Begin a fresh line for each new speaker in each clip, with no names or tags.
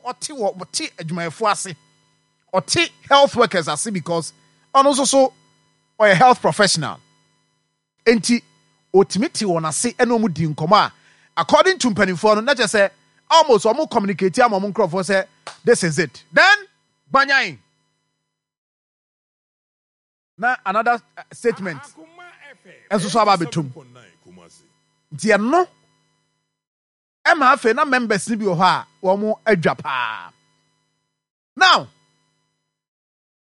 ɔno ɔte wɔ ɔte adwumayɛfoɔ ase, ɔte health workers ase because ɔno nso so ɔyɛ health professional. Enti ɔtumi te wɔn ase ne wɔn di nkɔmmɔ a according to mpanimfoɔ no na kyerɛ sɛ almost wɔn communicate ama wɔn nkurɔfoɔ sɛ this is it. Then gbanyan na another statement nso so aba abɛtom. Nti ɛno ɛma afei na members no bi wɔ hɔ a wɔn adwa paa. Now,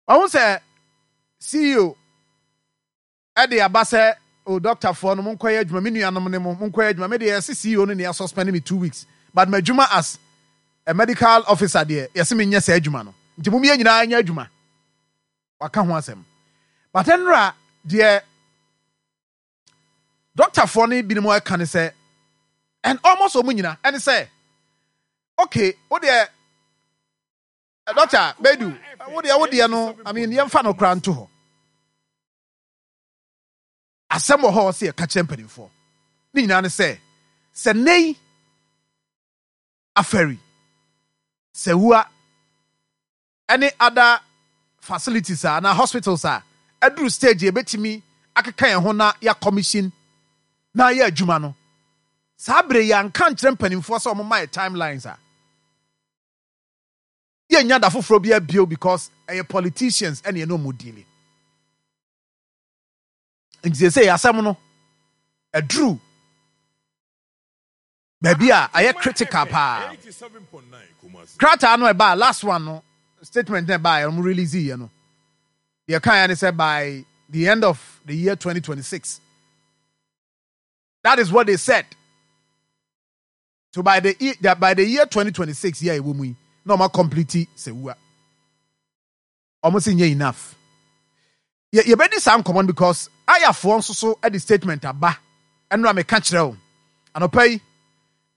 wɔn sɛ CEO ɛde aba sɛ o doctorfoɔ no monkɔyɛ adwuma, me nuanom ne mo monkɔyɛ adwuma. Me deɛ yɛse CEO no nea suspend me 2 weeks, but m'adwuma as a medical officer deɛ, yɛse menyɛ saa adwuma no, nti mom yɛn nyinaa nyɛ adwuma. Waka ho asɛm, but nnora deɛ doctorfoɔ no binom ɛka ne sɛ, and almost wɔn nyina ɛne sɛ, okay, wo deɛ Doctor Bedu, wo deɛ no, I mean, yɛmfa no koraa nto hɔ. Asɛm wɔ hɔ sɛ yɛka kyerɛ mpanimfoɔ ne nyinaa ne sɛ nnɛ yi afɛri Sewua ɛne other facilities a anaa hospitals a ɛduru stage yɛbɛtumi akeka yɛn ho na yɛ commission na yɛ adwuma no, saa bere yɛanka nkyerɛ mpanimfoɔ sɛ wɔn ma yɛ timelines a, yɛnya da foforɔ bi abio because ɛyɛ politicians ɛne ɛne ɔmo deal. Nti sɛ asɛm no ɛduru baabi a ayɛ critical paa. Krataa no ɛbaa, last one no, statement no ɛbaa, ɔmo release yɛ no, deɛ kan yɛ ne sɛ by the end of the year 2026. That is what they said. So by the year 2026 yɛ ɛwɔ mu yi na ɔmo complete Sewua. Ɔmo sɛ nyɛ enough. Yɛ yɛbɛdi saa nkɔmɔ no because ayafoɔ nso so de statement aba. Ɛnora meka kyerɛ wo anɔpa yi,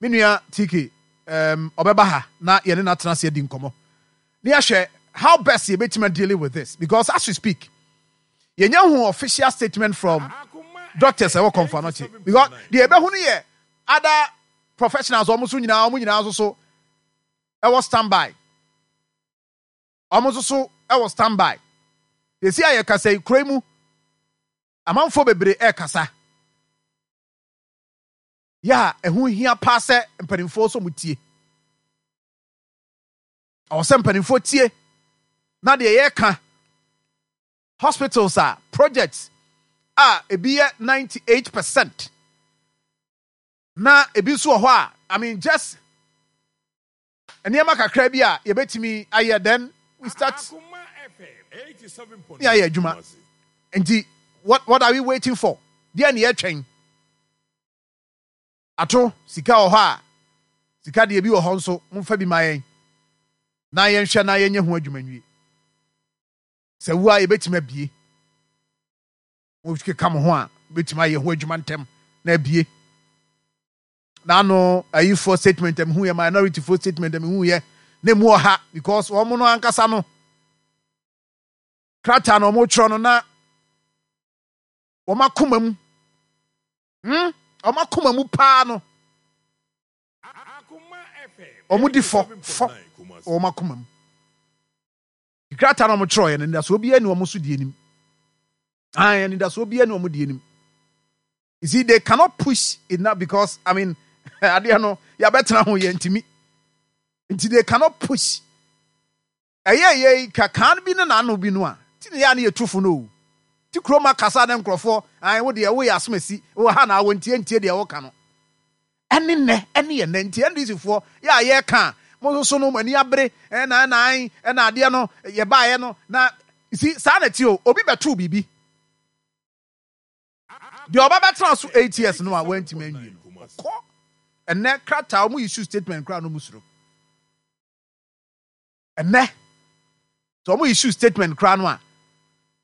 me nua TK ɔbɛba ha na yɛne no atena ase adi nkɔmɔ ne yɛahwɛ how best yɛbɛtumi dealing with this, because as we speak yɛnya hu official statement from doctors ɛwɔ Kɔmfo Anɔkye, because deɛ yɛbɛhu no yɛ other professionals, wɔn nso nyinaa, wɔn nyinaa nso so ɛwɔ standby, wɔn nso so ɛwɔ standby. Yɛsi a yɛkasa yi, kuro yi mu amanfoɔ bebree ɛrekasa yɛ a ɛho hia paa sɛ mpanimfoɔ nso mo tie. Ɔwɔ sɛ mpanimfoɔ tie na deɛ yɛreka, hospitals a projects a ebi yɛ 98% na ebi nso wɔ hɔ a, I mean, just nneɛma kakra bi a yɛbɛtumi ayɛ, then we start ne ayɛ adwuma. Nti what are we waiting for? Deɛ ne yɛtwɛn ato sika wɔ hɔ a, sika deɛ bi wɔ hɔ nso, momfa bi ma yɛn na yɛnhwɛ na yɛnyɛ ho adwuma nwie. Sɛ wu a yɛbɛtumi abie, mokeka mo ho a, bɛtumi ayɛ ho adwuma ntɛm na abie. N'ano ayifoɔ statement a mehu yɛ, minority foɔ statement a mehu yɛ na emu wɔ ha because wɔn no ankasa no krataa na wɔn twerɛ no na wɔn akoma mu, wɔn akoma mu paa no, wɔn di fɔ fɔ wɔn akoma mu. Krataa na wɔn twerɛ yɛ no, anidasoɔ biara ni wɔn so di anim ayi, anidasoɔ biara ni wɔn di anim. You see, they cannot push enough because, I mean, adeɛ no yɛabɛtena ho yɛ ntumi, nti they cannot push. Ɛyɛ yɛ kakan bi ne n'ano bi no a ti ne yɛ a ne yɛ tufo no o ti kurom akasa ne nkurɔfoɔ ayi, wo deɛ woyɛ asomasi wɔ ha na awɔ ntie ntie deɛ wɔka no. Ɛne nnɛ ɛne yɛ nnɛ nti NDC foɔ yɛ a yɛreka a, mo nso so no mo ani abere ɛna ɛna ayi ɛna adeɛ no yɛbaeɛ no na si saa na ti o. Obi bɛtoo biribi deɛ ɔba bɛtena so 8 years no a wantumi anwie no, ɔkɔ. Ɛnɛ krataa wɔn issue statement koraa no mu soro. Ɛnɛ sɛ wɔn issue statement koraa no a,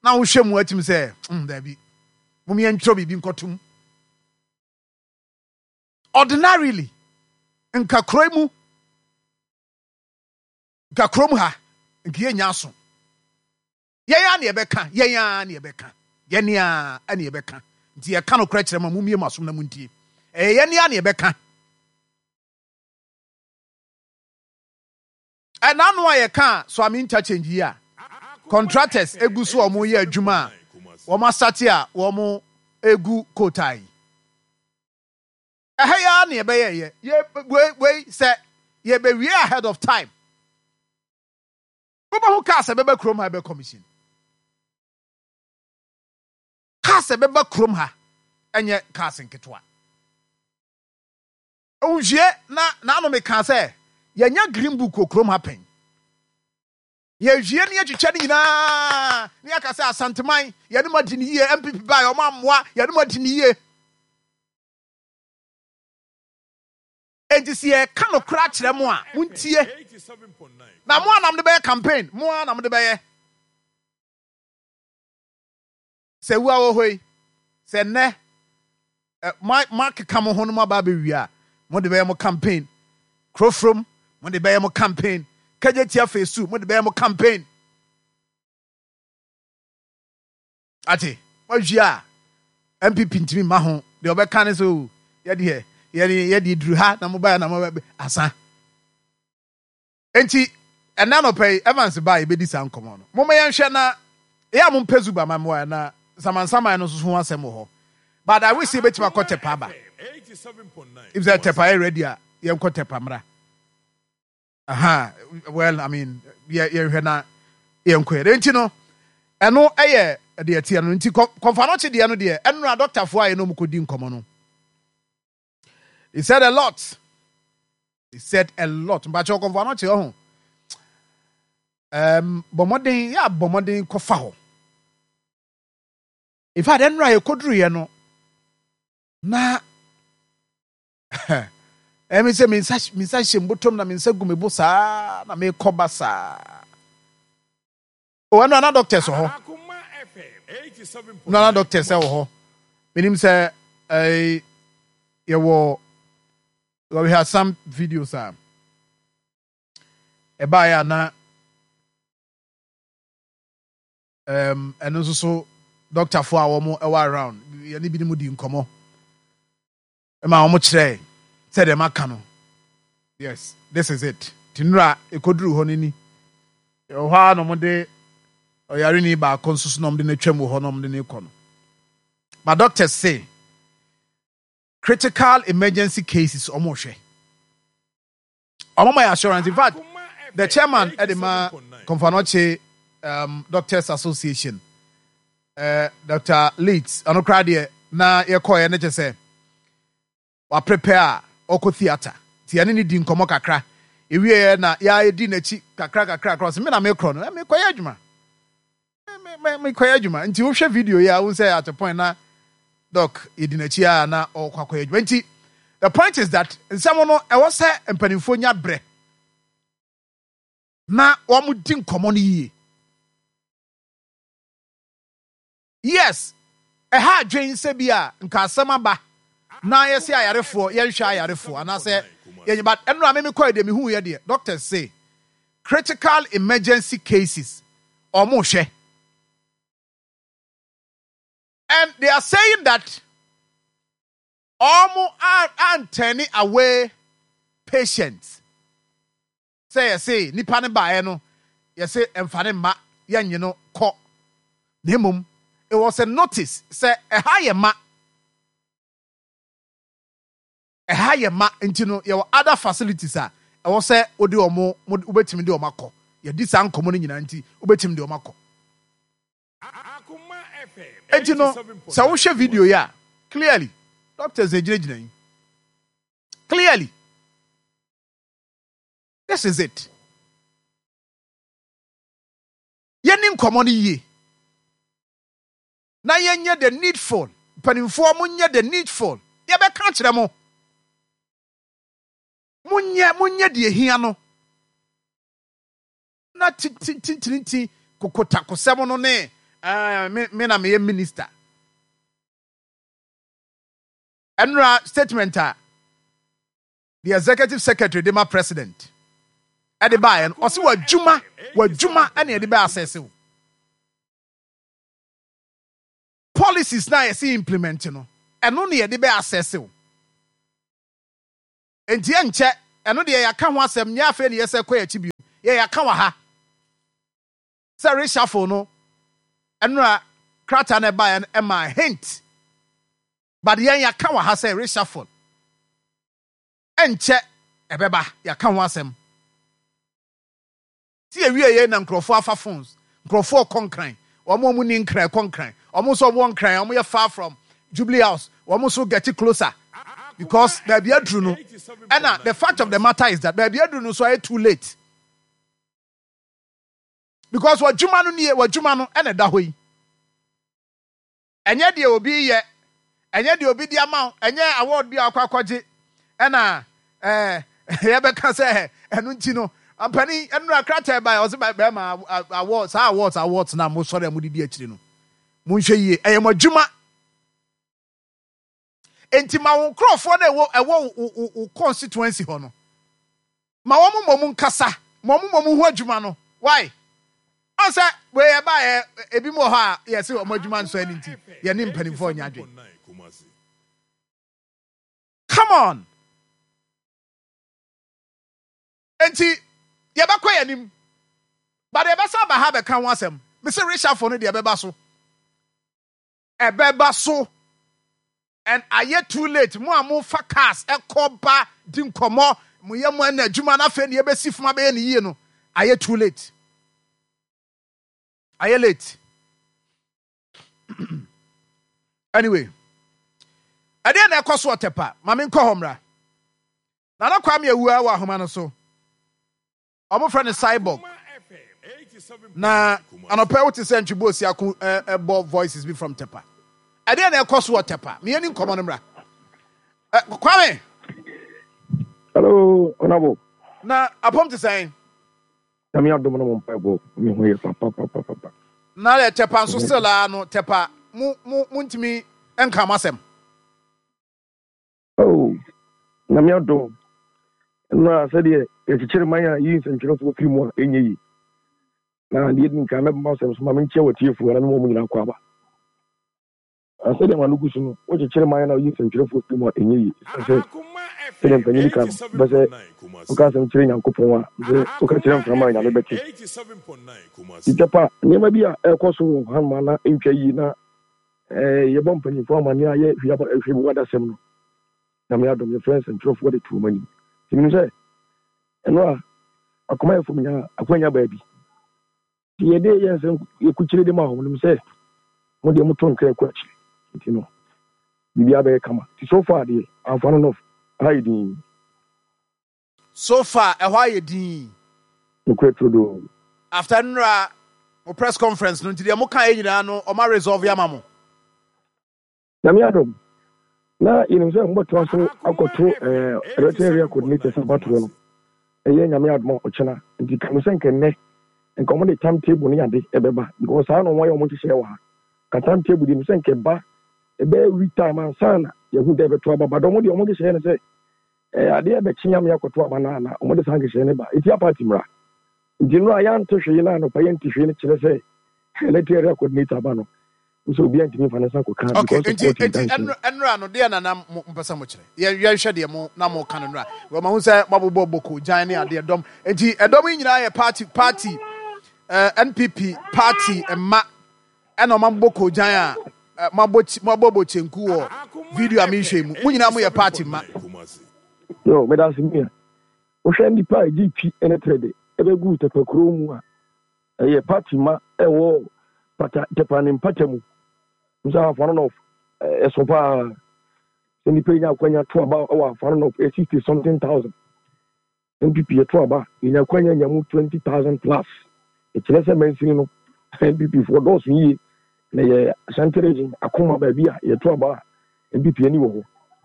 na wohwɛ mu atim sɛ daabi, mo yɛn ntwerɛ biribi nkɔtum. Ordinarily nka kuro mu, nka kurom ha nka yɛnya aso. Yɛn a na yɛbɛka, yɛn a na yɛbɛka, yɛn a na yɛbɛka. Nti yɛka no korɛ kyerɛ ma mumie mu asom na mu ntie. Ɛyɛ yɛn a na yɛbɛka. Ɛna ano a yɛka Suame interchange yi a contractors egu so a wɔyɛ adwuma a wɔn asate a wɔn egu kootaa yi. Ɛha yi ara na yɛbɛyɛ yɛ wei wei sɛ yɛbɛwie ahead of time. Wobɛhu cars ɛbɛba kurom ha ɛbɛ commission. Cars ɛbɛba kurom ha ɛnyɛ cars nketewa. Nhwie na n'ano meka sɛ yɛnya green book wɔ kurom ha pɛn. Yɛhwie ne yɛtwitwa ne nyinaa ne yɛaka sɛ Asanteman yɛne mo adi ne yie, NPP baeɛ ɔmo ammoa, yɛne mo adi ne yie. Enti sɛ yɛka nokorɛ akyerɛ mo a, montie. Na mo a na mode bɛyɛ campaign, mo ara na mode bɛyɛ. Sɛ wua wɔ hɔ yi, sɛ nnɛ moakeka mo ho no moaba abɛwie a, mode bɛyɛ mo campaign. Kurofrom, mode bɛyɛ mo campaign. Kagyetia Phase 2, mode bɛyɛ mo campaign. Ate, moawie a, NPP ntumi mma ho. Deɛ ɔbɛka ne sɛ, o, yɛdeɛ, yɛde yɛde duru ha na mobaeɛ na mobɛ asa. Enti, ɛnnɛ anɔpa yi, Evans baa yɛbɛdi saa nkɔmmɔ no. Momma yɛnhwɛ na, ɛyɛ a mompɛ Zuba ma mmoa na Nsamansaman no nso ho asɛm wɔ hɔ. But I wish sɛ yɛbɛtumi akɔ Tepa aba. If sɛ Tepa yɛ ready a, yɛnkɔ Tepa mmra. Aha, well, I mean, yɛnhwɛ na yɛnkɔ yɛ. Enti no, ɛno ɛyɛ deɛ ɛteɛ no. Nti kɔmfanɔkye deɛ no deɛ, ɛnora dɔktafoɔ a yɛne wɔn kɔdi nkɔmmɔ no. He said a lot. He said a lot. Mpakyɛ ɔkɔmfo ano kyerɛ ho. Um, bɔ mmɔden, yɛ abɔ mmɔden kɔfa hɔ. In fact, ɛnora yɛkɔduruiɛ no, na ɛmi sɛ me nsa me nsa hyɛ mbotom na me nsa gu me bo saa na mekɔ ba saa. O ɛno ana doctors wɔ hɔ. No ana doctors wɔ hɔ. Menim sɛ ɛɛ yɛwɔ we have some videos a ɛbaeɛ a na ɛno nso so doctorfoɔ a wɔn ɛwɔ around yɛne binom di nkɔmmɔ. Ma wɔn kyerɛɛ sɛdeɛ maka no. Yes, this is it. Nti nnura ɛkɔduru hɔ no ni. Ɛwɔ hɔ ara na wɔde ɔyareni baako nso so na wɔde no atwam wɔ hɔ na wɔde no rekɔ no. But doctors say critical emergency cases wɔn rehwɛ. Wɔn ma yɛ assurance. In fact, the chairman ɛde ma Komfo Doctors Association, Dr. Leeds, ɔno koraa deɛ na yɛkɔɛ no kyɛ sɛ waprepare a ɔkɔ theatre. Nti yɛne ne di nkɔmmɔ kakra. Ewieɛ na yɛadi n'akyi kakra kakra kakra. Ɔsɛ me na mekorɔ no, mekɔyɛ adwuma. Mekɔyɛ adwuma. Nti wohwɛ video yi a, wohu sɛ at a point na doc yɛdi n'akyi a na ɔkɔ akɔyɛ adwuma. Nti the point is that nsɛm no ɛwɔ sɛ mpanimfoɔ nya brɛ na wɔn di nkɔmmɔ no yie. Yes, ɛha adwen sɛ bi a nka asɛm aba na yɛsɛ ayarefoɔ yɛnhwɛ ayarefoɔ anaasɛ yɛnyɛ, but ɛno a meme kɔɛ deɛ mehu yɛ deɛ doctors say critical emergency cases ɔmo hwɛ, and they are saying that ɔmo are away patients. Sɛ yɛse nipa no baeɛ no, yɛse mfa no mma, yɛnnye no kɔ. Na mmom, it was a notice sɛ ɛha yɛ ma, ɛha yɛ ma, nti no yɛwɔ other facilities a ɛwɔ sɛ wode wɔn, wobɛtumi de wɔn akɔ. Yɛdi saa nkɔmmɔ no nyinaa nti, wobɛtumi de wɔn akɔ. Enti no, sɛ wohwɛ video yi a, clearly, doctors na egyinagyina yi. Clearly. This is it. Yɛni nkɔmmɔ no yie. Na yɛnyɛ the needful. Mpanimfoɔ monyɛ the needful. Yɛbɛka akyerɛ mo. Monyɛ, monyɛ deɛ hia no. Na tintintinti kokotakosɛm no ne me na meyɛ minister. Ɛnora statement a the executive secretary de ma president ɛde baeɛ no, ɔse w'adwuma, w'adwuma ɛna yɛde bɛ assess wo. Policies na yɛse implement no, ɛno na yɛde bɛ assess wo. Enti ɛnkyɛ, ɛno deɛ yɛaka ho asɛm, nyɛ afei na yɛsɛ kɔ yɛn akyi bio. Yɛ yɛaka wɔ ha sɛ reshuffle no, ɛnora krataa no ɛbaeɛ no ɛmaa hint, but yɛn yɛaka wɔ ha sɛ reshuffle ɛnkyɛ ɛbɛba, yɛaka ho asɛm. Ti ewie yɛ na nkurɔfoɔ afa phones, nkurɔfoɔ kɔ Nkran, wɔn a wɔn ni Nkran kɔ Nkran, wɔn nso wɔn Nkran, wɔn yɛ far from Jubilee House, wɔn nso get closer because baabi aduru no, ɛna the fact of the matter is that baabi aduru no nso ayɛ too late because w'adwuma no nie, w'adwuma no ɛna ɛda hɔ yi. Ɛnyɛ deɛ obi reyɛ, ɛnyɛ deɛ obi de ama wo, ɛnyɛ award bi a wakɔ akɔgye ɛna ɛɛ yɛbɛka sɛ ɛno nti no mpanin ɛnura krataa ɛbaeɛ ɔsɛ bɛrima award saa awards awards na mo sɔre a mo didi akyire no mo nhwɛ yie, ɛyɛ mo adwuma. Enti ma wo nkurɔfoɔ no ɛwɔ ɛwɔ wo wo constituency hɔ no, ma wɔn mmom nkasa, ma wɔn mmom ho adwuma no. Why? Ɔn sɛ wei ɛbaeɛ ebi mu wɔ hɔ a yɛse wɔn adwuma nsɔ ani nti yɛne mpanimfoɔ nyɛ adwene. Come on. Enti yɛbɛkɔ yɛn anim. But yɛbɛsan aba ha bɛka ho asɛm. Mese reshuffle no deɛ ɛbɛba so. Ɛbɛba so and ayɛ too late mo a mo fa cars ɛkɔ ba di nkɔmɔ mo yɛ mo ɛna adwuma na afei na yɛbɛsi fam abɛyɛ ne yie no, ayɛ too late, ayɛ late. Anyway, ɛdeɛ na ɛkɔ so ɔtɛpa ma menkɔ hɔ mmra. Nana Kwame Awua wɔ ahoma no so. Wɔfrɛ no Cyborg. Na anɔpɛ wote sɛ Ntwebo Osiako ɛbɔ voices bi from Tepa. Ɛdeɛ na ɛkɔ so wɔ Tepa. Meyɛ ni nkɔmɔ no mmra. Kwame.
Hello, Honorable.
Na apɔm te sɛn?
Nyame adom no mo mpaebɔ me ho yɛ papapapapa.
Na yɛ Tepa nso still a no Tepa mo mo mo ntumi nka mo asɛm.
Oh, Nyame adom. Nnora sɛdeɛ yɛkyekyere man a yi nsɛntwerɛfoɔ firi mu a ɛnyɛ yie. Na deɛ ɛdi nkan mɛbɛma asɛm so ma menkyia w'atiefoɔ na mema wɔn nyinaa kɔ aba. Na sɛdeɛ ma no gu so no, wokyekyere man na woyi nsɛntwerɛfoɔ firi mu a ɛnyɛ yie. Ɛsiane sɛ sɛdeɛ mpanyin ka no, wopɛ sɛ woka asɛm kyerɛ Nyankopɔn a, sɛ woka kyerɛ mframa a Nyame bɛte. Nti pa nneɛma bi a ɛrekɔ so wɔ hanom a na ɛntwa yie na Yɛbɔ mpanyimfoɔ amanneɛ a yɛ hwɛ mu adasɛm no. Nyame adom yɛfrɛ nsɛntwerɛfoɔ de to wɔn anim. Nti menim sɛ ɛno a akomayɛfoɔ nya akwanya baabi. Nti yɛde yɛ nsɛm yɛkukyire de ma wɔn nim sɛ mo deɛ moto nkra kɔ akyire. Nti no biribiara bɛyɛ kama. Nti so far deɛ amfa no north ha yɛ dinn.
So far ɛhɔ ayɛ dinn.
Nokorɛ turodoo.
After nnora mo press conference no nti deɛ mo kaeɛ nyinaa no ɔmo a resolve ama mo.
Nyame adom na yɛnim sɛ mobɛtoa so akɔto Electoral Area Coordinators abatoɔ no, ɛyɛ Nyame adom a ɔkyena, nti ka no sɛ nka nnɛ nka wɔde time table ne ade ɛbɛba because saa na wɔayɛ wɔn nhyehyɛeɛ wɔ ha, nka time table deɛ nim sɛ nka ɛba ɛbɛyɛ week time ansa na yɛhu dɛ ɛbɛto aba, but wɔn deɛ wɔn nhyehyɛeɛ ne sɛ Ɛyɛ adeɛ a ɛbɛkye Nyame akɔto aba no a na wɔde saa nhyehyɛeɛ no ba. Ɛtia party mmara. Nti nnora yɛante hwee na anɔpa yɛnte hwee no kyerɛ sɛ electoral area coordinator aba no sɛ obiara ntumi mfa ne nsa nkɔka
Okay,
because of
nti
court
nti
injunction.
Ɛnora no deɛ na na mo mpɛ sɛ mo kyerɛ. Yɛn yɛnhwɛ deɛ mo na mo ka no nnora. Wɔn ahu sɛ mo abobɔ boko gyan ne adeɛ dɔm. Nti ɛdɔm yi nyinaa yɛ party party NPP party mma ɛna ɔmo abobɔ koogyan a mo abɔ mo abɔ kyenku wɔ video a mehwɛ yi mu. Mo nyinaa mo yɛ party mma.
Yo, meda ase mia. Wohwɛ nnipa a egye twi ne trɛde ɛbɛgu Tɛpɛ kurow mu a, ɛyɛ party mma ɛwɔ pata Tɛpɛ ne mpata mu. Nso Ahafo North ɛso paa. Sɛ nnipa yi nya akwanya to aba wɔ Ahafo North ɛyɛ 60 something thousand. NPP yɛto aba yɛnya akwanya nya mu 20,000 plus. Ɛkyerɛ sɛ mansini no NPP foɔ dɔɔso yie na yɛ Ashanti region akoma baabi a yɛto aba a NPP ani wɔ hɔ.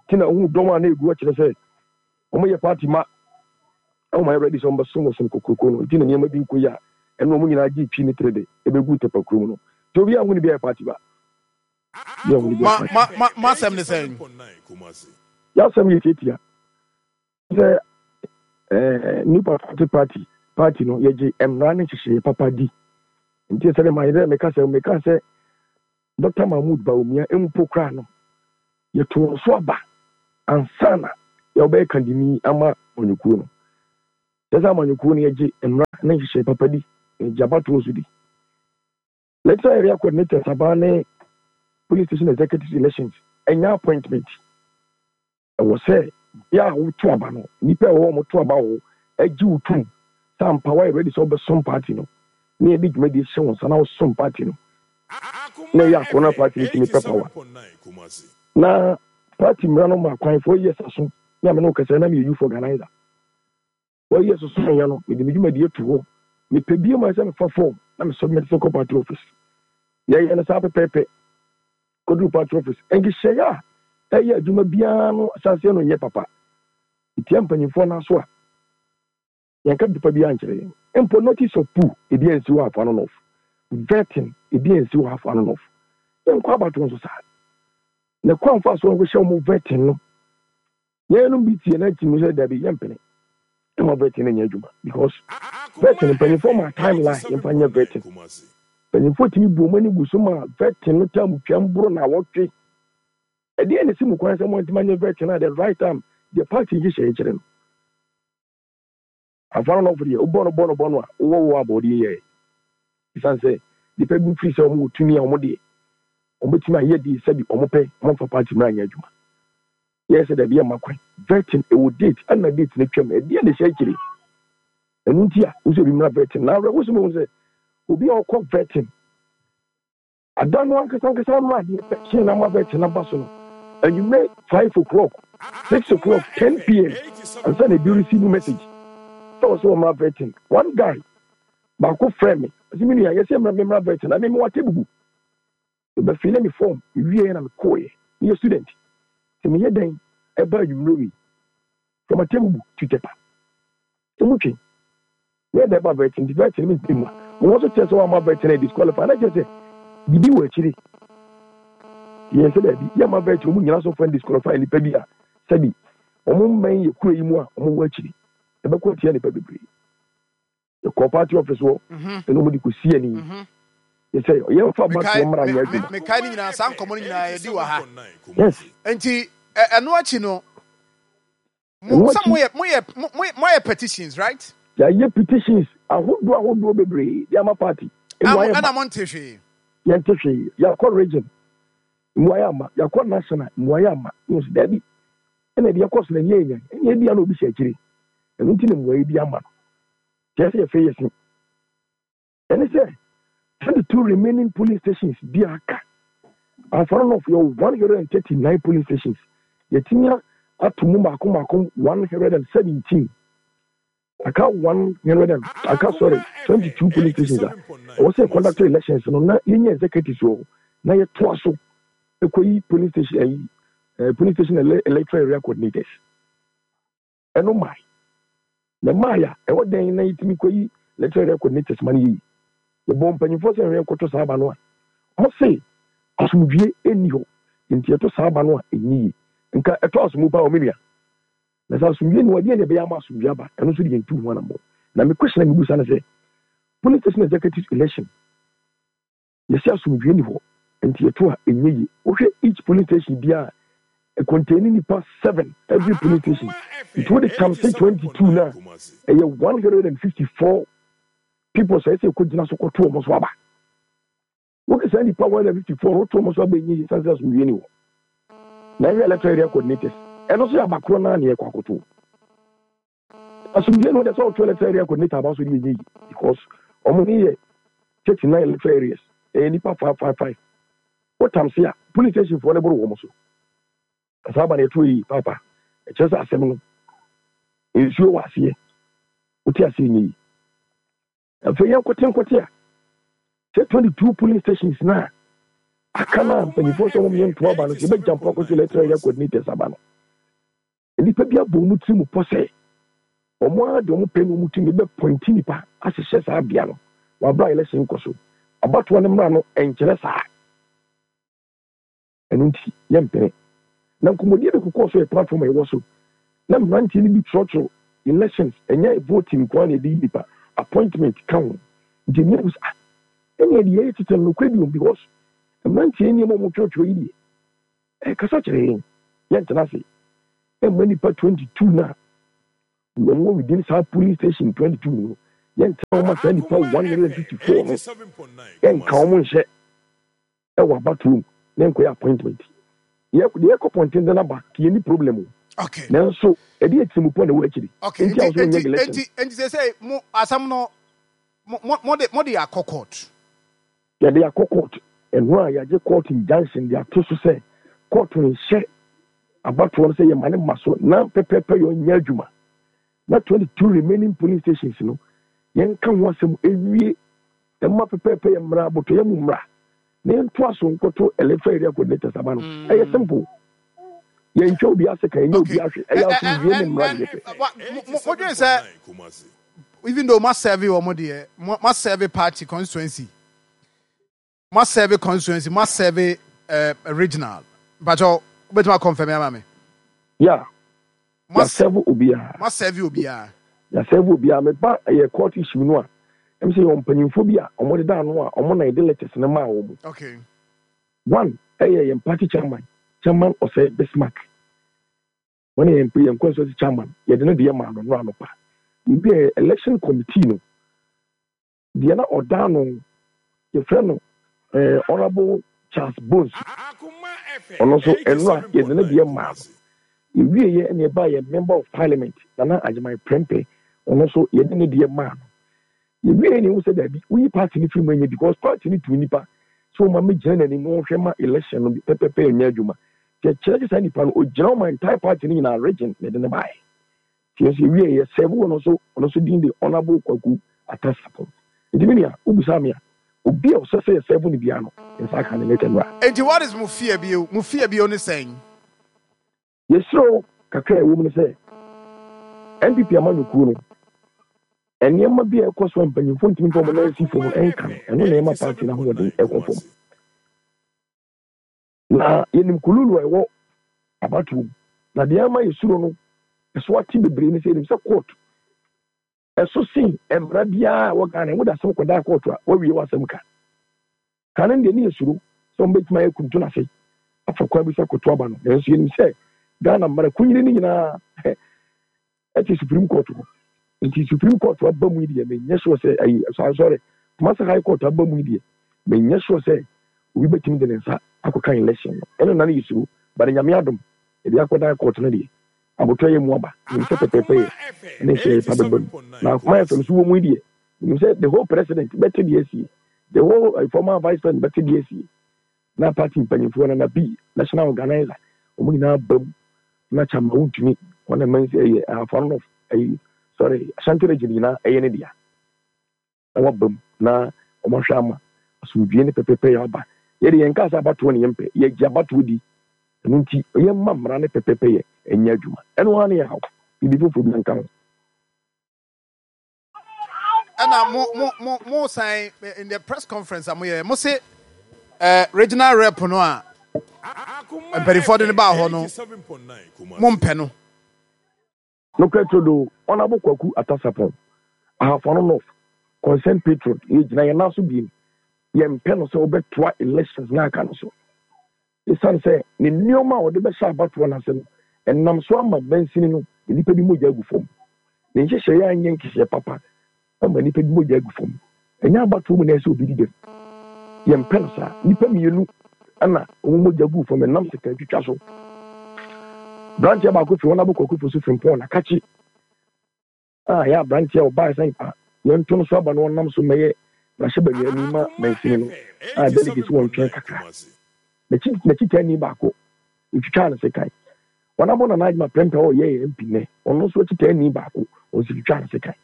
Nti na wohu dɔm a na ɛgu hɔ kyerɛ sɛ wɔn yɛ party ma ɛwɔ ma yɛ ready sɛ wɔn bɛsom ɔsom kokroko no. Nti na nneɛma bi nkɔ yi a ɛno wɔn nyinaa gye twi ne tere de ɛbɛgu Tepa kurom no. Nti obiara hu ne bi a yɛ party ba. Obiara hu ne bi a yɛ party ba.
Ma ma asɛm ne sɛn?
Yɛasɛm yɛ tiatia. Sɛ New Patriotic Party party no yɛgye mmara ne nhyehyɛeɛ papa di. Nti sɛdeɛ mayɛ dɛ meka sɛ meka sɛ Dr. Mahmood Bawumia mpo koraa no yɛtoo no so aba ansa na yɛbɛyɛ kandini ama amanyɔkuo no. Kyerɛ sɛ amanyɔkuo no yɛgye mmara ne ne nhyehyɛe papa di, na egye abatoɔ nso di. Electoral Area Coordinators aba ne Polling Station Executives elections ɛnyɛ appointment. Ɛwɔ sɛ bea a woto aba no, nnipa a ɛwɔ hɔ a wɔto aba wɔ hɔ gye wo tom sɛ ampa woayɛ ready sɛ wobɛsom party no na yɛde dwumadie hyɛ wo nsa na wosom party no na ɛyɛ akɔnnɔ na party no tumi pɛ power. Na party mmara no ma kwan 4 years aso ne a me ne wo kasa na meyɛ youth organizer. Wɔyɛ sosonoeɛ no, mede me dwumadie to hɔ. Mepɛ bio ma sɛ mefa form na me submit sɛ kɔ party office. Yɛyɛ no saa pɛpɛɛpɛ kɔduru party office. Nhyehyɛeɛ a ɛyɛ adwuma biara no ahyɛaseɛ no nyɛ papa. Ɛtia mpanyimfoɔ no aso a, yɛnka papa biara nkyerɛ yɛn. Mpo notice of pool, ebi ansi hɔ afa no north. Vetting, ebi ansi hɔ afa no north. Yɛnkɔ abatoɔ nso saa. Na kwan fa so wɔhyɛ wɔn vetting no, Yɛn bi tie na ti mu sɛ dabi yɛmpene ɛma vetting no nyɛ adwuma because vetting mpanyinfoɔ ma timeline yɛmfa nyɛ vetting. Mpanyinfoɔ tumi bu wɔn ani gu so ma vetting no tam twam boro na awɔtwe. Ɛdeɛ na esi mu kwan sɛ mo antumi anyɛ vetting at the right time deɛ party nhyehyɛeɛ kyerɛ no. Amfa no nɔfo deɛ, wobɔ no bɔ no bɔ no a, wowɔ wo abɔ deɛ yɛɛ. Ɛsiane sɛ nnipa bi firi sɛ wɔn wɔ tumi a wɔn deɛ, wɔn bɛtumi ayɛ deɛ sɛbi wɔn pɛ, wɔn mfa party mmra nyɛ adwuma. Yɛyɛ sɛ dabi yɛmma kwan. Vetting, ɛwɔ date, ɛna date no twam, ɛdeɛ na ɛhyɛ akyire. Ɛno nti a, wosɛ obi mmra vetting. Na awerɛhosɛm ɛwɔ sɛ, obi a ɔkɔ vetting, Ada no ankasa ankasa no a adeɛ bɛkye na ama bɛkye no aba so no, anwummerɛ 5 o'clock, 6 o'clock, 10 p.m. ansa na ebi receive message sɛ ɔsɛ wɔmmra vetting. One guy baako frɛ me, ɔsɛ me nua yɛsɛ mmra memmra vetting na me mewɔ Atebubu. Mebɛfile me form, mewieɛ na mekɔeɛ. Meyɛ student. Sɛ meyɛ dɛn ɛba anwummerɛ wei from Atebubu to Tepa. Emu twe. Yɛ dɛ ba vetting nti vetting no mentumi mma. Mo ho nso kyerɛ sɛ wamma vetting a disqualify na kyerɛ sɛ biribi wɔ akyire. Yɛn sɛ daabi yɛmma vetting wɔn nyina so fa disqualify nipa bi a sɛbi wɔn mmɛn yɛ kuro yi mu a wɔn wɔ akyiri. Ɛbɛkɔ atia nipa bebree. Yɛkɔɔ party office hɔ ɛna wɔn de kɔ si ani. Yɛ sɛ yɛmfa abatoɔ mmara nyɛ adwuma.
Mekae ne nyinaa, saa nkɔmmɔ no nyinaa yɛdi wɔ ha.
Yes.
Nti ɛno akyi no, Mo sɛ moyɛ moyɛ moayɛ petitions, right?
Yɛayɛ petitions ahodoɔ ahodoɔ bebree de ama party.
Mmuaeɛ ma. Ɛna monte hwee.
Yɛnte hwee. Yɛakɔ region, mmuaeɛ amma. Yɛakɔ national, mmuaeɛ amma. Yɛhu sɛ daabi. Ɛna deɛ ɛkɔ so no ɛnyɛ yɛn. Ɛnna ebia na obi hyɛ akyire. Ɛno nti na mmuaeɛ bi amma no. Kyerɛ sɛ yɛfei yɛse. Ɛne sɛ 22 remaining polling stations bi a aka. Anfa no North yɛwɔ 139 polling stations. Yɛatumi ato mu mmaako mmaako 117. Aka 100 and aka, sorry, 22 polling stations a ɛwɔ sɛ conduct elections no na yɛnya executives wɔ hɔ na yɛtoa so ɛkɔyi polling station ayi polling station electoral area coordinators. Ɛno mae. Na ɛmae a, ɛwɔ dɛn na yɛtumi kɔyi electoral area coordinators ma no yɛ yi? Yɛbɔɔ mpanyimfoɔ sɛ yɛnkɔto saa aba no a, wɔse asomdwie nni hɔ, nti yɛto saa aba no a ɛnyɛ yie. Nka ɛtɔ asomu paa o, me nua. Na sɛ asomdwie nni hɔ a, deɛn na ɛbɛyɛ ama asomdwie aba? Ɛno nso de yɛntu ho anammɔn. Na me question a mebisa ne sɛ, polling station executive election, Yɛse asomdwie nni hɔ nti yɛto a ɛnyɛ yie. Wohwɛ each polling station biara a, ɛcontaini nipa seven every polling station. Nti wode times 22 no a, ɛyɛ 154 people sɛ ɛsɛ ɛkɔgyina so kɔto wɔn so aba. Woke saa nipa 154 no woto wɔn so aba ɛnyɛ yie sane sɛ asomdwie nni hɔ. Na ɛhwɛ electoral area coordinators, ɛno nso yɛ aba korɔ no ara na yɛkɔ akɔto. Asomdwie no deɛ sɛ ɔtwe electoral area coordinator aba so deɛ ɛnyɛ yi because ɔmo ne yɛ 39 electoral areas, ɛyɛ nipa 555 wotam se a police station foɔ no boro wɔn so. Na saa aba no ɛto yi papa, ɛkyerɛ sɛ asɛm no nsuo wɔ aseɛ, wote aseɛ, nyɛ yi. Afei yɛn nkote nkote a sɛ 22 polling stations na aka no a mpanyinfoɔ sɛ wɔn yɛ ntoa aba no sɛ yɛbɛgya mpo akɔto electoral area coordinators aba no, nnipa bi abɔ wɔn tirim pɔ sɛ wɔn ara de wɔn pɛ ne wɔn tumi bɛ pɔnti nipa ahyehyɛ saa bea no wɔ abira election kɔ so. Abatoɔ no mmara no nkyerɛ saa, ɛno nti yɛmpene. Na nkɔmmɔdie bi kokɔɔ so yɛ platform a ɛwɔ so na mmeranteɛ no bi twerɛtwerɛ elections, ɛnyɛ voting nko ara na yɛde yi nipa, appointment ka ho. Nti ɛmi ahu sɛ ah, ɛnneɛ deɛ yɛyɛ tete no nokorɛ bi wɔ mu because mmeranteɛ nneɛma a wɔtwerɛtwerɛ yi deɛ ɛkasa kyerɛ yɛn. Yɛntena ase ɛmma nipa 22 no a wɔn wɔ within saa polling station 22 no. Yɛntena hɔ ma saa nnipa 154 no yɛnka wɔn nhyɛ wɔ abatoɔ mu na yɛnkɔyɛ appointment. Yɛ deɛ yɛkɔ pɔntenten aba nti yɛnni problem o.
Okay.
Nanso ɛde atirimu na ɛwɔ akyiri.
Okay.
Nti a wɔsɛ wɔnyɛ election.
Nti nti sɛ sɛ mo asɛm no mo mo mo de mo de akɔ court.
Yɛde akɔ court. Ɛno a yɛagye court injunction de ato so sɛ court nhyɛ abatoɔ no sɛ yɛma ne mma so na pɛpɛɛpɛ yɛ ɔnyɛ adwuma. Na 22 remaining polling stations no yɛnka ho asɛm ewie ɛma pɛpɛɛpɛ yɛ mmara abotɔyɛ mu mmara na yɛntoa so nkɔto electoral area coordinators aba no. Ɛyɛ simple. Yɛntwa obi ase ka yɛnyɛ obi ahwɛ ɛyɛ asomdwie ne mmara ne yɛpɛ.
Modwen sɛ even though ma serve wɔn deɛ ma serve party constituency ma serve constituency ma serve regional mpakyɛw wobɛtumi akɔnfɛm ama me.
Yeah. Yɛasɛve obiara.
Moasɛve obiara.
Yɛasɛve obiara. Meba ɛyɛ court issue no a, ɛm sɛ yɛwɔ mpanyinfoɔ bi a wɔdeda ano a wɔn na yɛde letters no maa wɔn.
Okay.
One ɛyɛ yɛn party chairman, Chairman Osei Bismarck. Wɔn yɛ yɛn constituency chairman. Yɛde ne deɛ maa no nnora anɔpa. Yɛwie yɛ election committee no. Deɛ na ɔda ano, yɛfrɛ no eh, Honourable Charles Bonsu. Ɔno nso, nnora yɛde ne deɛ maa no. Yɛwieɛ ɛna ɛbaa yɛn Member of Parliament, Nana Agyemang Prempeh, ɔno nso yɛde ne deɛ maa no. Yɛwieɛ na yɛhu sɛ daabi, woyi party no firi mu ɛnyɛ because party no tu nipa sɛ ɔma mmɛgyina n'anim na ɔnhwɛ ma election no pɛpɛpɛ nyɛ adwuma. Nti ɛkyerɛ sɛ saa nipa no, ɔgyina ɔma entire party no nyinaa region na ɛde no baeɛ. Nti yɛn nso yɛwiee yɛ serve ɔno nso, ɔno nso din de Honourable Kwaku Atta Sarpong. Nti me nua, wobisaa me a, obi a ɔsɛ sɛ yɛ serve no biara no, yɛn nsa aka ne letter nnora.
Nti what is mo fear bio? Mo fear bio ne sɛn?
Yɛsrɛ wo, kakra a ɛwɔ mu ne sɛ, NPP amanyɔkuo no, nneɛma bi a ɛkɔ so a mpanyinfoɔ ntumi mfa wɔn nan nsi fam nka no, ɛno na ɛma party no ahoɔden ɛkɔ fam. Na yɛnim kululu a ɛwɔ abatoɔ mu. Na deɛ ama yɛsuro no ɛso ate bebree ne sɛ yɛnim sɛ court ɛso sen mmara biara a ɛwɔ Ghana. Wode asɛm kɔdaa court a, woawie w'asɛm ka. Kane deɛ ne yɛsuro sɛ wɔbɛtumi ayɛ kuntu no ase afa kwan bi so akɔto aba no. Nanso yɛnim sɛ Ghana mmara kunyini no nyinaa ɛte Supreme Court hɔ. Nti Supreme Court aba mu yi deɛ menyɛ sure sɛ ayi sorry Kumasi High Court aba mu yi deɛ menyɛ sure sɛ obi bɛtumi de ne nsa akɔka election no. Ɛno na ne yɛsuro but Nyame adom yɛde akɔdan court no deɛ abotɔ yɛ mu aba. Menim sɛ pɛpɛɛpɛ yɛ ne nhyehyɛeɛ pa bɛba mu. Na Akoma FM so wɔ mu yi deɛ menim sɛ the whole president bɛte deɛ asie, the whole former vice president bɛte deɛ asie. Na party mpanyimfoɔ Nana B, national organizer, wɔn nyinaa ba mu na Chama wontumi wɔn na mɛnsi ɛyɛ Ahafo North ɛyi sorry Ashanti region nyinaa ɛyɛ ne dea na waba mu na wɔn ahwɛ ama asomdwie ne pɛpɛpɛ yɛ aba. Yɛde yɛn kaa sɛ abatoɔ ne yɛn pɛ, yɛgye abatoɔ di, ɛno nti yɛn mma mmara ne pɛpɛpɛ yɛ ɛnyɛ adwuma. Ɛno ara ne yɛ haw, biribi foforɔ bi nka ho.
Ɛna mo mo mo mo san in the press conference a mo yɛ mo se eh, regional rep no a mpanimfoɔ de no baa hɔ no mo mpɛ no.
Nokorɛ turodoo, Honourable Kwaku Atta Sarpong, Ahafo-Ano North, Concerned Patriot, yɛgyina yɛn nan so biem, yɛmpɛ no sɛ ɔbɛtoa elections no a aka no so. Esiane sɛ ne nneɛma a ɔde bɛhyɛ abatoɔ no ase no, ɛnam so ama mansini no nnipa bi mogya agu fam. Ne nhyehyɛeɛ anyɛ nhyehyɛeɛ papa ama nnipa bi mogya agu fam. Ɛnyɛ abatoɔ mu na ɛsɛ sɛ obi di dɛm. Yɛmpɛ no saa. Nnipa mmienu na wɔn mogya guu fam ɛnam sekantwitwa so. Aberanteɛ baako firi Honourable Kwaku Fosu Frimpong Nakakye. a ɛyɛ aberanteɛ a ɔbaeɛ sɛ nka yɛnto no so aba na ɔnam so mmɛyɛ mmarahyɛbaguani ma mansini no a delegates wɔ ntwɛn kakra. N'akyi n'akyitaani baako otwitwaa no sekan. Wɔn abɔ Nana Adjuma Prempeh a ɔyɛ yɛn MP nnɛ, ɔno nso akyitaani baako ɔno nso twitwaa no sekan.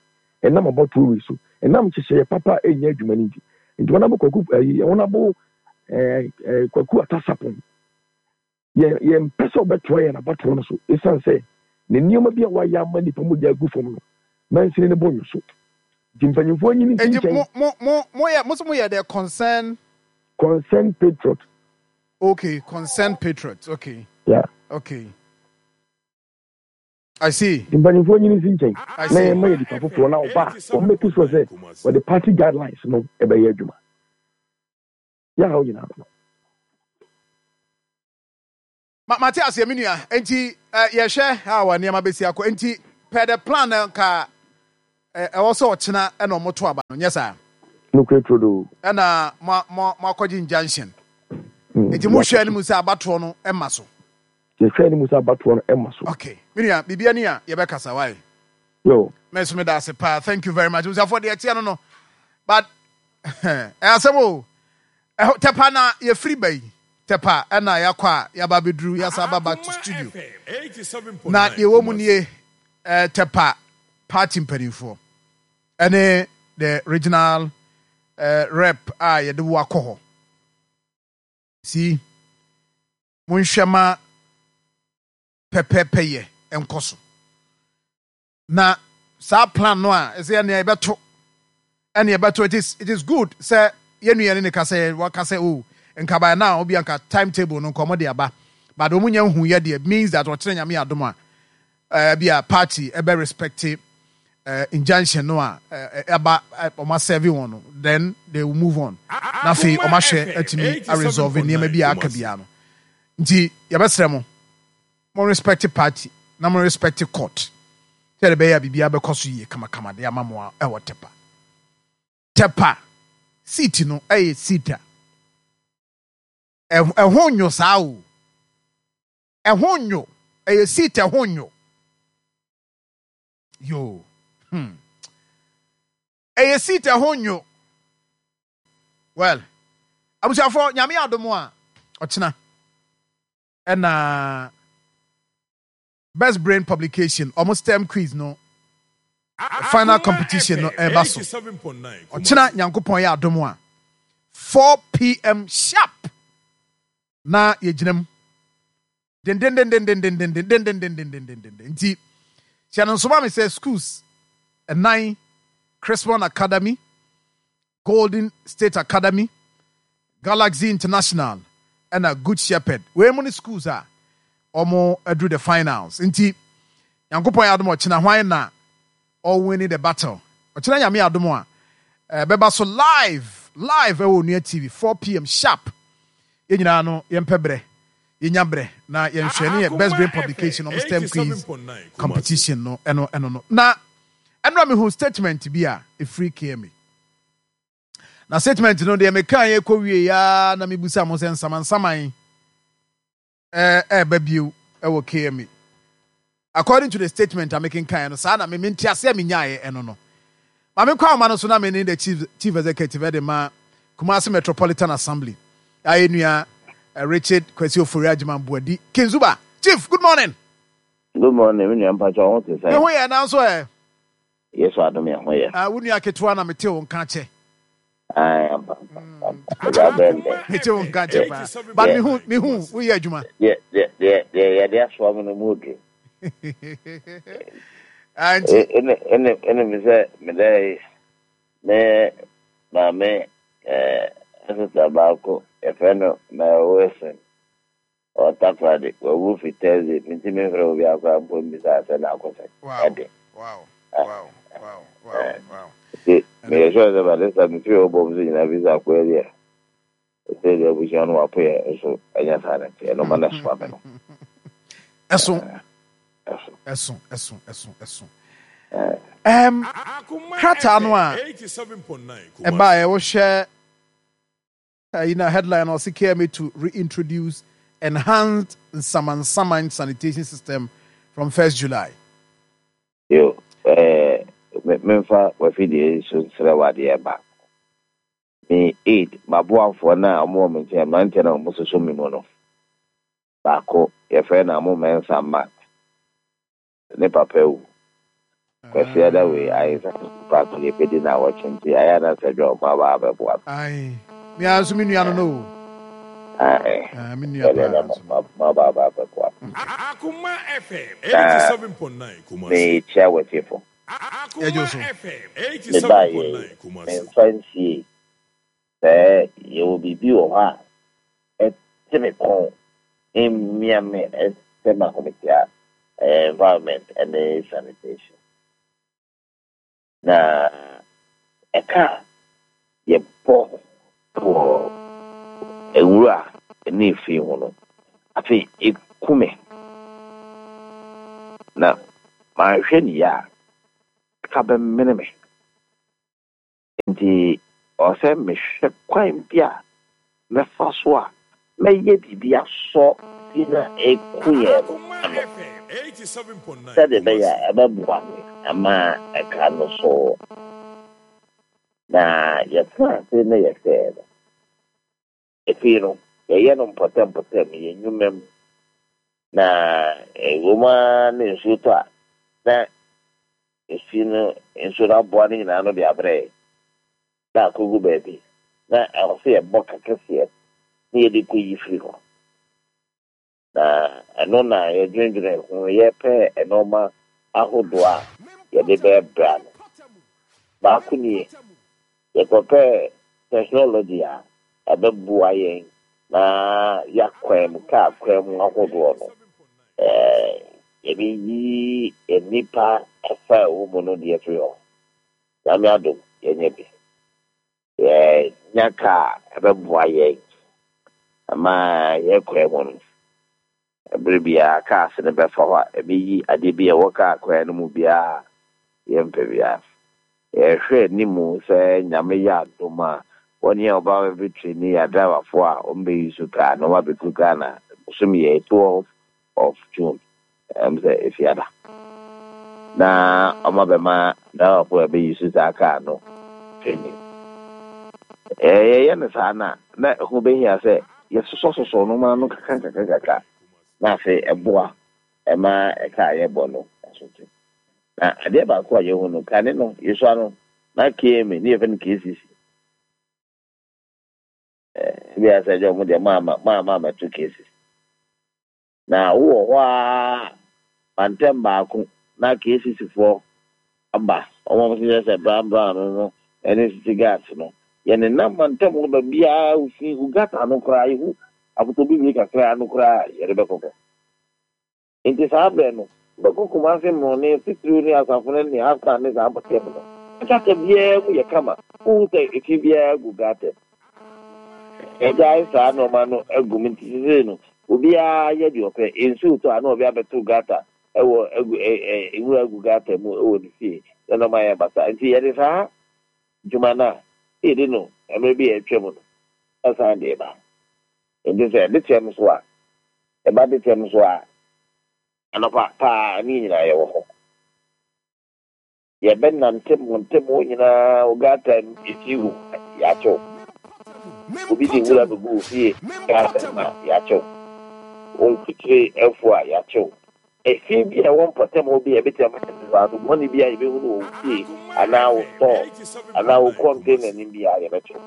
Ɛnam abatoɔ wei so, ɛnam nhyehyɛeɛ papa a ɛnyɛ adwuma no nti. Nti wɔn abo Kwaku ɛyi wɔn abo ɛɛ ɛɛ Kwaku Atasapɔn. Yɛn yɛmpɛ sɛ ɔbɛtoa yɛn abatoɔ no so esiane sɛ ne nneɛma bi a wayɛ ama nnipa mogya agu fam no mansini no bo nnwo so. Nti mpanyimfoɔ nyi no nsi
Enti
nkyɛn.
mo mo mo moyɛ mo se moyɛ the concern.
Concerned Patriot.
Okay, Concerned Patriot. Okay.
Yeah.
Okay. I see.
Nti mpanyimfoɔ nyi no nsi nkyɛn
I
na
see.
yɛmma yɛ nipa foforɔ na ɔba a wɔn make sure sɛ wɔde party guidelines no ɛbɛyɛ adwuma. Yɛ haw nyinaa no.
Ma mate aseɛ me nua. Enti eh, yɛhwɛ how a nneɛma bɛsi akɔ. Enti per the plan no nka Ɛwɔ sɛ ɔkyena ɛna ɔmo to aba no, nyɛ saa?
Nokorɛ turodoo.
Ɛna mo mo mo akɔgye injunction. Nti mo hwɛ anim sɛ abatoɔ no ɛma so.
Yɛhwɛ anim sɛ abatoɔ no ɛma so.
Okay, me nua, biribi ani a yɛbɛkasa, why?
Yo.
Me nso meda ase paa, thank you very much. Abusuafoɔ deɛ ɛteɛ no no, but ɛyɛ asɛm o. Ɛhɔ Tɛpa na yɛfiri ba yi, Tɛpa ɛna yɛakɔ a yɛaba abɛduru, yɛasa aba back to studio. Na deɛ ɛwɔ mu nie, eh, Tɛpa party mpanimfoɔ ɛne the regional eh, rep a yɛde wo akɔ hɔ. See, monhwɛ ma pɛpɛpɛyɛ nkɔ so. Na saa plan no a ɛsɛ ɛnea yɛbɛto ɛne yɛbɛto it is it is good sɛ yɛn nua ne ne ka sɛ waka sɛ oh nka by now obi anka timetable no nka wɔn de aba but wɔn nya nhu yɛ deɛ means that ɔkyerɛ nyame adom a ɛɛ bi a party ɛbɛ respect ɛɛ injunction no a ɛɛ ɛba wɔn asɛve wɔn no then they will move on na afei wɔn ahwɛ atumi a resolve nneɛma bi a aka biara no nti yɛbɛsrɛ mo. Mo respect party na mo respect court sɛdeɛ ɛbɛyɛ a biribiara bɛkɔ so yie kamakama de ama mo a ɛwɔ Tepa. Tepa seat no ɛyɛ seat a ɛho nyo saa o. Ɛho nyo. Ɛyɛ seat ɛho nyo. Yoo. Hmm. Ɛyɛ seat ɛho nyo. Well, abusuafoɔ nyame adom a ɔkyena. Ɛna Best Brain Publication ɔmo STEM quiz no final competition no ɛreba so ɔkyena Nyankopɔn yɛ adom a 4pm sharp na yɛgyina mu dendendendendendendendendendendendenden nti hyɛ no nso ma me sɛ schools ɛnan Chrismon Academy Golden State Academy, Galaxy International ɛna Good Shepherd. Wei mu ne schools a wɔn aduru the finals. Nti Nyankopɔn yɛ adom ɔkyena hwan na ɔwini the battle. Ɔkyena Nyame adom a ɛbɛba so live live ɛwɔ Onua TV 4pm sharp. Yɛn nyinaa no yɛmpɛ berɛ yɛnya berɛ na yɛnhwɛ ne yɛ Best Brain Publication wɔn STEM quiz competition no ɛno ɛno no. Na Ɛnora mehu statement bi a ɛfiri KMA. Na statement no deɛ mekaa yɛ kɔ wie ya na mebusa mo sɛ nsamansaman ɛɛba bio ɛwɔ KMA. According to the statement a mekenkan no saa na me mente aseɛ menyaeɛ ɛno no. Ma menkɔ ahoma no so na me ne the chief, chief executive ɛde ma Kumasi Metropolitan Assembly. Ayɛ nua Richard Kwasi Ofori Agyeman Boadi. Kinzuba, Chief, good morning.
Good morning me nua mpakyɛw wo ho te sɛn?
Me ho yɛ nanso ɛ.
Yesu adom yɛ ho yɛ.
Ah wo nua ketewa na mete wo nka kyɛ.
Ae ampa ampa ampa ɛgya bɛn dɛ.
Mete wo nka kyɛ paa but me hu me hu wo yɛ adwuma.
Deɛ deɛ deɛ deɛ yɛde asoa me no mu oduru.
Ah nti.
Ɛne ɛne ɛne me sɛ me dɛ me maame ɛɛ sista baako yɛfrɛ no Mary Wilson. Ɔwɔ Takoradi, wawu fi Thursday, mintumi mfrɛ obiara koraa mpo mmisa sɛ n'akosɛn ɛde. Nti meyɛ sure sɛ by this time mefiri hɔ bom so nyinaa bisa akoa bi a ɛsɛ deɛ abusua no wapo yɛ nso ɛnyɛ saa na ɛteɛ no ma no soa me no.
Ɛso ɛso ɛso ɛso ɛso. Ɛm krataa no a ɛbaeɛ wohwɛ Ayi na headline no ɔse KMA to reintroduce enhanced nsamansaman sanitation system from 1st July.
Yo, eh, me, memfa w'afidie yi so nsrɛ wo adeɛ baako. Me aid, m'aboafoɔ no a wɔwɔ me nkyɛn, mmeranteɛ no a wɔsoso me mu no, baako, yɛfrɛ no Amo Mensah Mark. Ne papa awu. Kwasiada wei ayɛ sɛ paako yɛbɛdi naawɔtwe nti ayɛ a na sɛ dwa ɔmo aba abɛboa me.
Ae me ara nso me nua no no o.
Ae
Ah, me nua
sɛdeɛ na
paa nso no.
mo aba aba abɛboa me.
Akoma FM
Na
87.9 Kumasi.
mekyia w'atiefo.
Yɛgye wo so.
Akoma FM
Mebaeɛ yi,
87.9 Kumasi.
memfa nsiei sɛ yɛwɔ biribi wɔ hɔ a ɛte me kɔn, ɛmia me, ɛsɛ m'ahometeɛ a, ɛyɛ environment ne sanitation. Na ɛka a yɛbɔ wɔ nwura ne efi ho no, afei ɛku me. Na manhwɛ no yie a, Ɛka bɛmene me. Enti ɛwɔ sɛ mehwɛ kwan bi a mɛfa so a mɛyɛ biribi asɔ fi no a ɛreku yɛn no ano sɛdeɛ ɛbɛyɛ a ɛbɛboa me ama ɛka no so. Na yɛtenaa ase na yɛhwɛɛ no. Afei no, yɛyɛ no mpɔtam-mpɔtam, yɛn nnwuma mu. Na ɛwom ara na nsuo tɔ a, na efi no, nsuo no aboa no nyinaa ano de abrɛ yɛn, na akɔgu baabi. Na ɛwɔ sɛ yɛbɔ ka kɛseɛ na yɛde kɔyi firi hɔ. Na ɛno na yɛdwendwene ho, yɛpɛ nnoɔma ahodoɔ a yɛde bɛbrɛ ano. Baako nie, yɛkɔpɛɛ technology a ɛbɛboa yɛn na yɛakwan mu, kaa kwan mu ahodoɔ no, yɛbɛyi nnipa ɛfa a ɛwɔ mu no de afiri hɔ. Nyame adom, yɛanya bi. Yɛanya kaa a ɛbɛboa yɛn ma yɛn kwan mu no, bere biara cars no bɛfa hɔ a, ɛbɛyi adeɛ bi a ɛwɔ kaa kwan no mu biara a yɛmpɛ biara. Yɛhwɛ anim sɛ Nyame yɛ adom a, wɔn a wɔba bɛtraini yɛn adriverfoɔ a wɔbɛ use kaa no, wɔabɛduru Ghana bosome yɛ 12 of June, ɛm sɛ Efiada, na ɔma bɛma driverfo a ɛbɛyi so saa kaa no training. Yɛyɛ no saa no a, na ɛho bɛhia sɛ yɛsosɔsosɔ nnoɔma no kakra kakra kakra, na afei ɛboa ɛma ɛka a yɛbɔ no ɛso te. Na adeɛ baako a yɛhu no, kane no, yɛsua no, na KMA, ne yɛfrɛ no KCC. Ebi a sɛ ɛgya wɔn deɛ maama maama mɛto KCC. Na wowɔ hɔ ara mantam baako na KCC foɔ aba, wɔn a wɔhyehyɛ sɛ brown brown no no ne city guards no. Yɛnenam mantam hɔ baabiara, wofi wo gutter ano koraa, yɛhu apotobibire kakra ano koraa a, yɛde bɛkɔ hɔ. Enti saa berɛ no, wobɛkɔ Kumasi mmorɔne, titiriw ne Asafo no ne Afghan ne saa mpɔtam no. Gutter biara mu yɛ kama, wonhu sɛ efi biara gu gutter mu. Yɛagyae saa nnoɔma no agu mu nti sesei no obiara yɛ deɛ ɔpɛ. Nsuo retɔ a na obi abɛto gutter wɔ agu ɛ ɛ nwura agu gutter mu wɔ ne fie na nnoɔma ayɛ basaa. Nti yɛde saa dwuma no a yɛdi no mmerɛ bi a atwam no san de reba. Nti sɛ de kyɛm so a, ɛba de kyɛm so a, anɔpa paa ne yɛn nyinaa yɛwɔ hɔ. Yɛbɛnante mmɔnten hɔ nyinaa, wo gutter mu, efi gu a, yɛakye wo. Obi de nwura bɛgu wo fie gutter mu a, yɛakye wo. Wo mfutire afu a, yɛakye wo. Efi bi a ɛwɔ mpɔtam hɔ bi a ɛbɛtumi ama nsunsuanso bɔne bi a yɛbɛhunu wɔ wo fie anaa wo store anaa wo container anim biara, yɛbɛkye wo.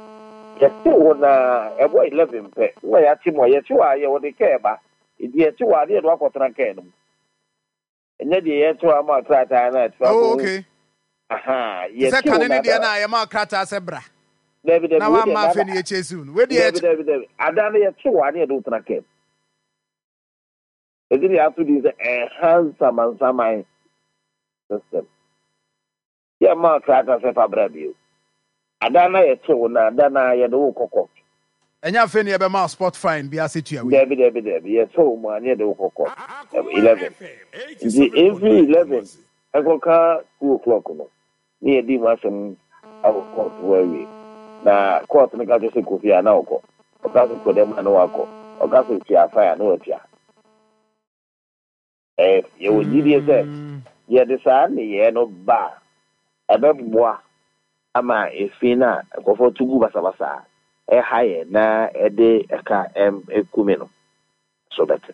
Yɛkye wo na ɛbɔ 11 pɛ na yɛakye mo a, yɛkye wo a, yɛde kaa ba. Enti yɛkye wo a, na yɛde wo akɔtena kaa no mu. Ɛnyɛ deɛ yɛto ama krataa no a ɛtra
Oh,
kɔhu.
okay.
Aha,
Te sɛ
yɛte wo
kane no deɛ
nada.
no a yɛma krataa sɛ bra
Dabi, dabi,
na
wei deɛ
wamma afei
nada.
na yɛkyɛsiw no. Wei deɛ
Dabi,
yɛkyɛ.
dabi, dabi. Ada no yɛte wo a na yɛde wo tena kaa mu. Ɛnti na yɛato din sɛ Enhanced Samansaman System. Yɛmma wo krataa sɛ fa bra bio. Ada no a yɛte wo no, ada no ara yɛde wo kɔ court.
Ɛnyɛ afei na yɛbɛma wo spot fine bi ase tua wei.
Dabi, dabi, dabi. Yɛte wo mu a na yɛde wo kɔ court. 11. Nti ɛmfiri 11 ɛnkɔka 2 o'clock no, na yɛadi mu asɛm akɔ court hɔ awie. Na court no ka kyerɛ sɛ kɔ fie a, na ɔkɔ. Ɔka sɛ kɔ dɛm a, na wakɔ. Ɔka sɛ tua fine a, na watua. Yɛwɔ gyidie sɛ yɛde saa nneyɛɛ no ba a, ɛbɛboa ama efi no a nkurɔfoɔ to gu basabasa a ɛha yɛn na ɛde ɛka kume no so bɛte.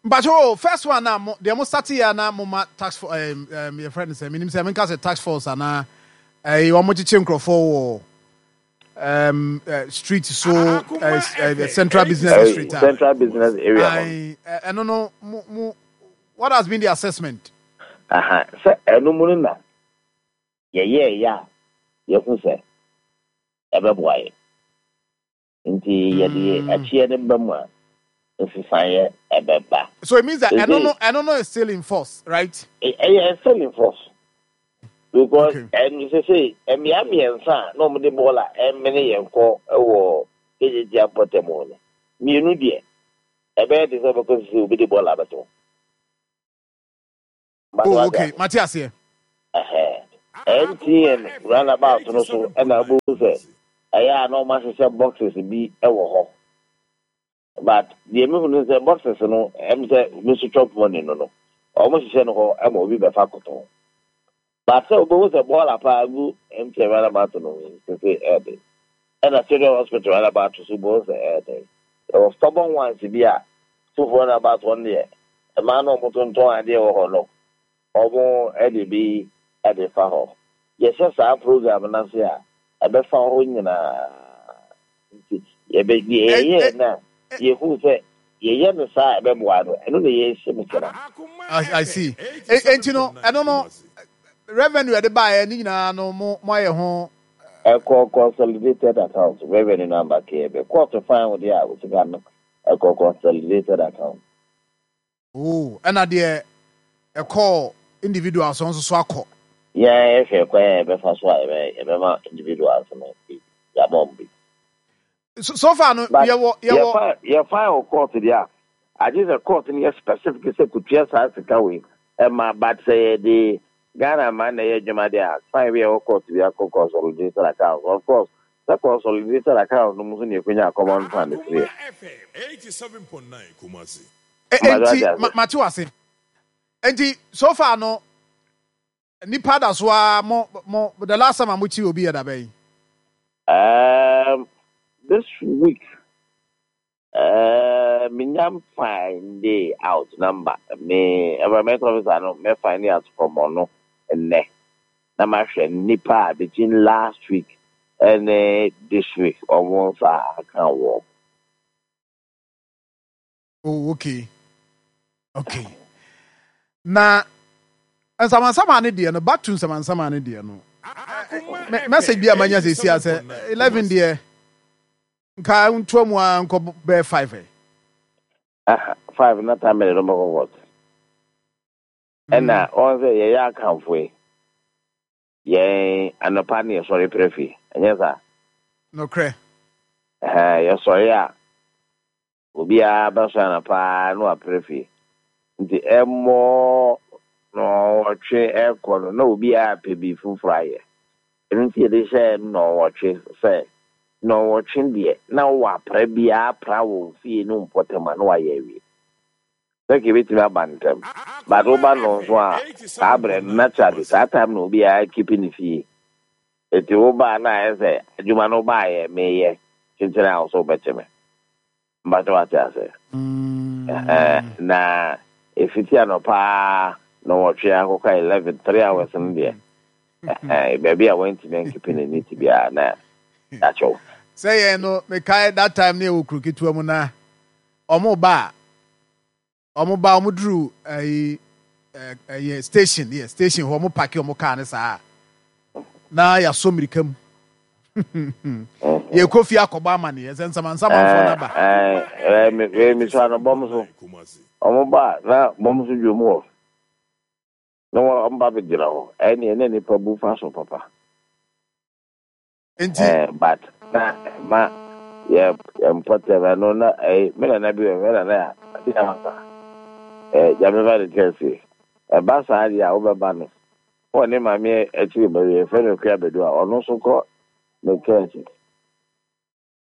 Mpakyɛw o, first one na mo deɛ mo starte yɛ a na mo ma tax for ɛɛm ɛɛm yɛfrɛ no sɛ menim sɛ menka sɛ tax force anaa ɛyi wɔn kyekye nkurɔfoɔ wɔ street so central business district a
central business area hɔ
ɛno no mo mo what has been the assessment.
Aha sɛ ɛno mu no na yɛyɛɛyɛ a yɛhu sɛ ɛbɛboa yɛ nti yɛde akyiɛ no ba mu a nsesaeɛ ɛbɛba.
So it means that ɛno no ɛno no is still in force, right?
Ɛyɛ still in force. Because ɛno sese mmea mmiɛnsa a na wɔde bɔɔla ɛmene yɛn kɔ wɔ KJT mpɔtam hɔ no, mmienu deɛ ɛbɛyɛ de sɛ ɔbɛkɔ sese obi de bɔɔla abɛto.
Oh, okay, mate aseɛ.
MTN roundabout no so na wobɛhu sɛ ɛyɛ a na wɔahyehyɛ boxes bi wɔ hɔ. But deɛ mehu no sɛ boxes no ɛm sɛ me so chop money no no wɔhyehyɛ no hɔ ma obi bɛfa kɔtɔn. But sɛ wobɛhu sɛ bɔɔla paa gu MTN roundabout no sese ɛɛden. Ɛna Children Hospital roundabout so wobɛhu sɛ ɛɛden. Yɛwɔ stubborn ones bi a Tufo roundabout hɔ no deɛ mmaa no a wɔtontɔn adeɛ wɔ hɔ no Wɔde bi de fa hɔ. Yɛhyɛ saa program no ase a, ɛbɛfa hɔ nyinaa. Nti yɛbɛ deɛ yɛyɛɛ no a yɛhuu sɛ yɛyɛ no saa a ɛbɛboa no, ɛno na yɛrehyɛ mu kena.
I see. Enti no, ɛno no, revenue ɛde baeɛ ne nyinaa no, mo moayɛ ho.
Ɛkɔ consolidated account, revenue no amba kɛɛ bɛ court fine wo deɛ a, wo sika no ɛkɔ consolidated account.
Oh, ɛna deɛ ɛkɔɔ individuals no nso so akɔ.
Yɛn yɛhwɛ kwan a yɛbɛfa so a yɛbɛ yɛbɛma individuals no bi, yɛama wɔn bi.
So, so far no,
But
yɛwɔ, yɛwɔ.
yɛfa yɛfa wɔ court deɛ a, agye sɛ court no yɛ specific sɛ kotua saa sika wei ɛma, but sɛ yɛde Ghana man na ɛyɛ adwuma deɛ a, fine bi a ɛwɔ court bi akɔ consolidated account. Of course, sɛ consolidated account no mu nso na yɛkɔnya common fund firi ɛ.
Enti, mate wo ase. Enti, so far no, nipa da so ara mo, mo, the last time a mo kyi obi yɛ da bɛn?
This week, minya find out number. Me environment officer no, me find out from ɔno nnɛ. Na mahwɛ nipa a between last week ɛne this week ɔmo nsa aka wɔn.
Oh, okay. Okay. Na nsamansama ne deɛ no, back to nsamansama ne deɛ no. Message bi a manya sɛ esi asɛ 11 deɛ nka ntoa mu a nkɔ bɛyɛ 5 ɛ.
Ah, 5 na time de no bɛkɔ court. Ɛna wɔn sɛ yɛyɛ akamfo yi. Yɛn anɔpa ne yɛsɔre prɛ fie. Ɛnyɛ saa?
Nokorɛ.
Ɛhɛn, yɛsɔre a Obiara bɛsɔre anɔpa ara na wapere fie. Nti ɛmmɔ nnɔnwɔtwe rekɔ no, na obiara repɛ biribi foforɔ ayɛ. Ɛno nti yɛde hyɛɛ nnɔnwɔtwe sɛ, nnɔnwɔtwe deɛ, na wowɔ apra biara apra wɔ wo fie ne wo mpɔtam a, na woayɛ awie. Sɛ nka ɛbɛtumi aba ntɛm, but woba nnɔnson a, saa berɛ no, naturally, saa time na obiara keep ne fie. Enti wo baa na ayɛ sɛ adwuma no baayɛ meyɛ kyekyere a wo so wobɛkye me. Mpakyɛ wate ase? Ɛhɛn na ɛfiti anɔpa nnɔnwɔtwe akɔka 11, 3 hours no deɛ ɛhɛn baabi a wantumi ankipi ne neat biara na yɛakyɛ wo.
Sɛ yɛn no mekae that time ne yɛwɔ kuro ketewa mu na ɔmo ba a Ɔmo ba ɔmo duru ɛyi ɛyɛ station yɛ station hɔ ɔmo paki ɔmo kaa ne saa na yasɔ mirika mu yɛkɔ fie akɔbɔ amaneɛ sɛ nsamansamanfoɔ no aba.
Ɛɛ mesua no bɔm so ɔmo ba na bɔm so dwom hɔ na wɔn ba bɛgyina hɔ ɛne ɛna nipa bu fa so papa.
Nti.
Eh, but na ɛma yɛ yɛ mpɔtam ɛno na ɛyi me nana bi wɔ me nana a ɔde ama sa ɛɛ gyame ba ne kɛse ɛba saa deɛ a wobɛba no wɔ ne maame akyiri ba bi yɛfrɛ no Akua Badu a ɔno nso kɔ ne kɛse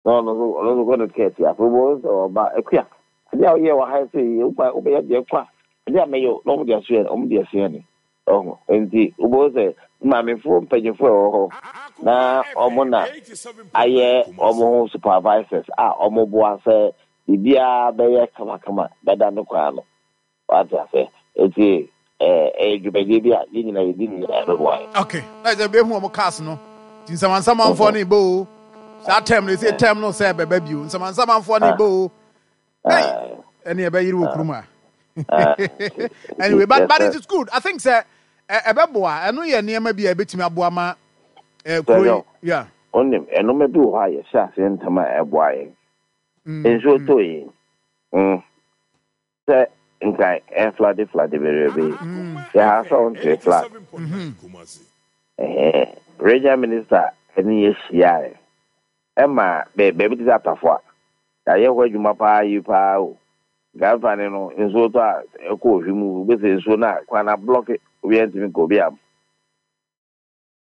na ɔno nso ɔno nso kɔ ne kɛse afei wobɛhu sɛ ɔba Akua adeɛ a woyɛ wɔ ha sɛ yi wobɛyɛ deɛ kɔ a adeɛ a mɛyɛ na wɔn de aso yɛ wɔn de aso yɛ ne Ɔho nti wobɛhu sɛ maamefoɔ mpanyinfoɔ a ɛwɔ hɔ na wɔn na ayɛ wɔn ho supervisors a wɔboa sɛ biribiara bɛyɛ kamakama bɛda ne kwan ano. Wate aseɛ? Nti ɛyɛ dwumadie bi a yɛn nyinaa yɛdi ne nyinaa ɛbɛboa yɛn.
Okay, na ɛsɛ bɛhu wɔn cars no. Nti nsamansamanfoɔ no bɔ o. Saa term no, ɛsɛ term no sɛ ɛbɛba bio. Nsamansamanfoɔ no bɔ o. Hey, ɛne ɛbɛyere wɔ kurom a. Anyway, but it is good. I think sɛ ɛbɛboa. Ɛno yɛ nneɛma bi a ɛbɛtumi aboa ma kuro yi. Yeah.
Onim, ɛnoma bi wɔ hɔ a yɛhyɛ aseɛ ntɛm a ɛboa yɛn. Nsuo tɔ yi, sɛ nka ɛflade flade bebrebe yi, yɛha sɛ wonte flood. Regional minister ɛne yɛ hyiaeɛ ɛma baabi te sɛ Atafo a, Yɛayɛ hɔ adwuma paa yie paa o. Nkae no, nsuo tɔ a, ɛkɔ ohwi mu, wobɛsɛ nsuo no a, kwan no ablɔke, obiara ntumi nkɔ, obiara.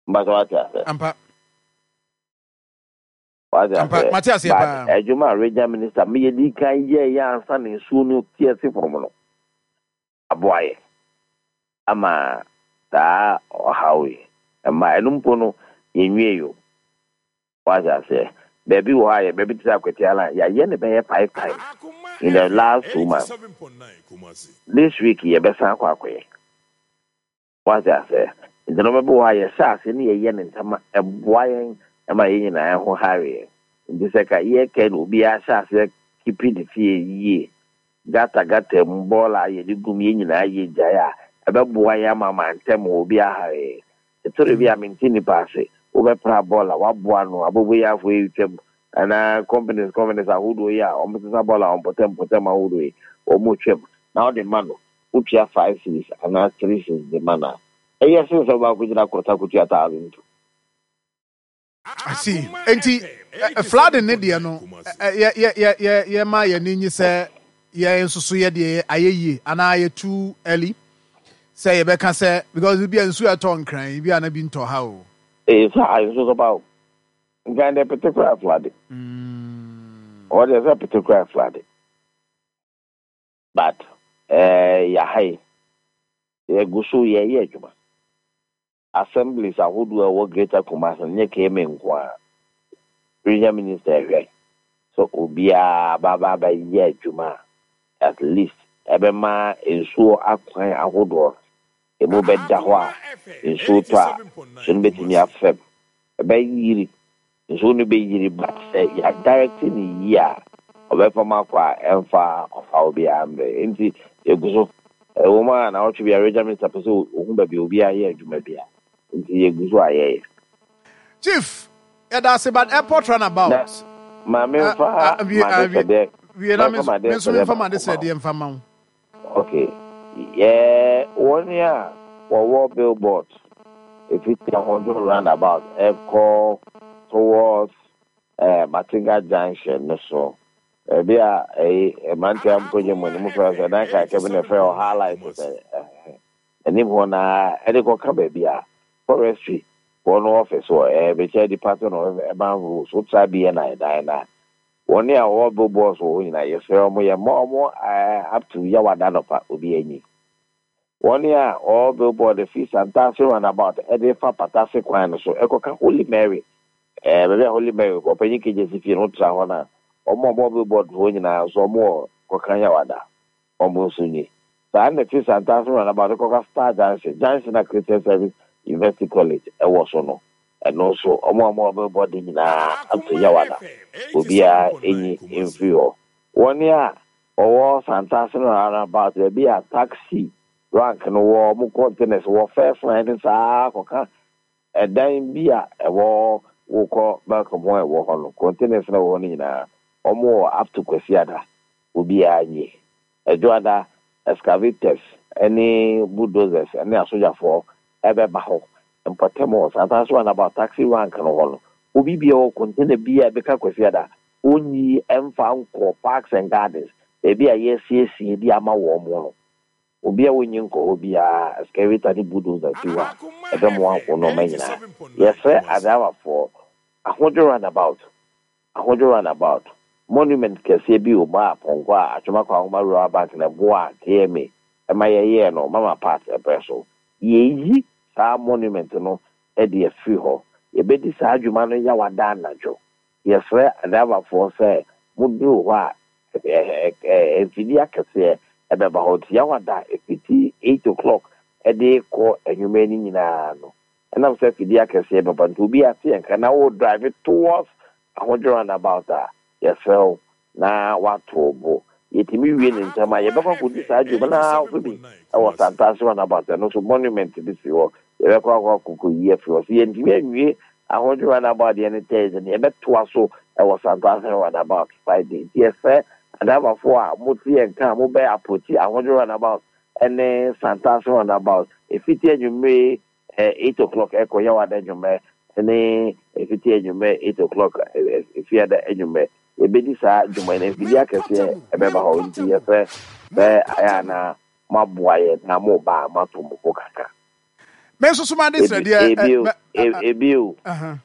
Mpatɔ wate ase.
Ampa.
Wate
Ampa,
aseɛ?
mate aseɛ
But
paa.
adwuma a regional minister meyɛ di kan yɛeɛ ansa na nsuo no te asi fam no, aboa yɛ ama saa ɔhaw yi mma. Ɛno mpo no, yɛnwiei o. Wate aseɛ? Baabi wɔ hɔ a, yɛ baabi te sɛ Akwatia line, yɛayɛ no bɛyɛ five times in the last 2 months. This week yɛbɛsan akɔ akɔyɛ. Wate aseɛ? Nti nnoɔma bi wɔ hɔ a yɛhyɛ aseɛ ne yɛyɛ no ntɛm a, ɛboa yɛn ma yɛn nyinaa ho hare yɛn. Nti sɛ ka yɛka no obiara hyɛ aseɛ keepi ne fie yie, gata gata mu, bɔɔla a yɛde gum yɛn nyinaa yɛ gyae a, ɛbɛboa yɛn ama mantam hɔ obiara hare yɛn. Ɛtɔre bi a mente nnipa ase, wobɛpra bɔɔla, woaboa ano, aboboyafoɔ yi retwam, anaa companies companies ahodoɔ yi a wɔsesa bɔɔla wɔ mpɔtam mpɔtam ahodoɔ yi, wɔretwam, na wode ma no, wotua 5 cedis anaa 3 cedis de ma no a, ɛyɛ sen sɛ wobɛakɔgyina gyina kɔta akɔtua 1002.
I see. Enti flooding ne deɛ no, yɛ yɛ yɛ yɛ yɛma yɛn ani nye sɛ yɛn nso so yɛ deɛ ayɛ yie anaa yɛ too early sɛ yɛbɛka sɛ because bi a nsuo a ɛtɔ Nkran yi bi a na bi ntɔ ha o.
Ee saa nsuo tɔ paa o. Nkran deɛ pete koraa flood. Ɔhɔ deɛ sɛ pete koraa flood. But eh yɛaha yi, yɛgu so yɛreyɛ adwuma. Assemblies ahodoɔ a ɛwɔ Greater Kumasi no, nyɛ KMA nko ara. Regional Minister rehwɛ sɛ obiara bɛba abɛyɛ adwuma a at least ɛbɛma nsuo akwan ahodoɔ no, ɛmu bɛda hɔ a nsuo tɔ a, nsuo no bɛtumi afam. Ɛbɛyiri Nsuo no bɛyiri but sɛ yɛ direct no yie a ɔbɛfam akɔ a ɛmfa ɔhaw biara mbrɛ. Nti yɛgu so. Ɛwɔ mu a naawɔtwe biara Regional Minister pɛ sɛ ɔhu baabi a obiara yɛ adwuma biara nti yɛgu so a yɛyɛ.
Chief, yɛda ase but airport run
Na
about.
ma
Ah,
memfa
ah, wie, ah, wie,
m'adesrɛdeɛ
wie na me
mɛmfa
nso me nso
m'adesrɛdeɛ
memfa
baako ma wo.
m'adesrɛdeɛ mfa ma wo.
Ok, yɛ wɔn a wɔwɔ billboard ɛfiti Ahodwo roundabout ɛkɔ towards eh, Matenga junction no so, baabi a ɛyi mmeranteɛ a mokɔgye mo ani mofrɛ sɛ dan kaaka bi na ɛfrɛ hɔ highlight sɛ eh, anim hɔ na ɛde kɔka baabi a forestry foɔ no office wɔ eh, bɛkyɛ department of urban rules wotra BNI dan no a. Wɔn a wɔwɔ billboards wɔ hɔ nyinaa, yɛsrɛ wɔn, yɛmma wɔn up to Yawada anɔpa, obiara nyi. Wɔn a wɔwɔ billboard fi Santase roundabout de fa Patase kwan no so kɔka Holy Mary, eh, baabi a Holy Mary, Ɔpanyin Kegyesi fie no, wotra hɔ no a, wɔn a wɔwɔ billboard hɔ nyinaa nso, wɔn wɔ kɔka Yawada, wɔn nso nyi. Saa na fi Santase roundabout kɔka Star Junction, junction a Christian Service University College wɔ so no, Ɛno nso, wɔn a wɔwɔ billboard nyinaa ato Yawada, obiara nyi mfiri hɔ. Wɔn a wɔwɔ Santase no roundabout, baabi a taxi rank no wɔ, wɔn containers wɔ first line no saa ara kɔka ɛdan bi a ɛwɔ wokɔ Melcom hɔ a ɛwɔ hɔ no, containers no a ɛwɔ hɔ no nyinaa, wɔwɔ up to Kwasiada, obiara nyi. Ɛdwoada, excavators ne bulldozers ne asogyafoɔ bɛba hɔ mpɔtam hɔ, Santase roundabout, taxi rank no hɔ no, obi biara wɔ container biara a ɛbɛka Kwasiada, ɔnyi mfa nkɔ Parks and Gardens, baabi a yɛasiesie de ama wɔn no. Obi a ɔnyi nkɔ hɔ biara, excavator ne bulldozer si hɔ a, ɛbɛmoa wo nnoɔma nyinaa. Yɛsrɛ adriverfoɔ, Ahodwo roundabout, Ahodwo Runabout, monument kɛseɛ bi wɔ mu a pɔnkɔ a Atwoma Kwahoma Rural Bank na ɛboaa KMA ma yɛyɛɛ no Mama Pat berɛ so. Yɛreyi saa monument no de afiri hɔ. Yɛbɛdi saa dwuma no Yawada anadwo. Yɛsrɛ adriverfoɔ sɛ moduru hɔ a, mfidie akɛseɛ bɛba hɔ nti Yawada ɛfiti eight o'clock de rekɔ anwummerɛ no nyinaa no, Ɛnam sɛ afidie akɛseɛ bɛba nti obi ate yɛn nka na wo drive towards Ahodwo roundabout a, yɛsrɛ wo na woato wo bo. Yɛtumi wie no ntɛm a, yɛbɛkɔ akɔdi saa dwuma no ara nso bi wɔ Santase roundabout, ɛno nso monument bi si hɔ, yɛbɛkɔ akɔ akɔyi afiri hɔ. Sɛ yɛntumi anwie Ahodwo roundabout deɛ no Thursday no, yɛbɛtoa so wɔ Santase roundabout Friday. Nti yɛsrɛ adriverfoɔ a mote yɛn nka a mobɛ approach Ahodwo roundabout ne Santase roundabout, ɛfiti anwummere 8 o'clock ɛkɔ Yawada anwummerɛ ne ɛfiti anwummerɛ 8 o'clock Fiada anwummerɛ. Yɛbɛdi saa dwuma yi na mfidie akɛseɛ ɛbɛba hɔ nti yɛsrɛ sɛ ayɛ a na moaboa yɛn na moba a moato mo bo kakra.
Me nso so m'ade srɛ deɛ.
Ebio, ebio,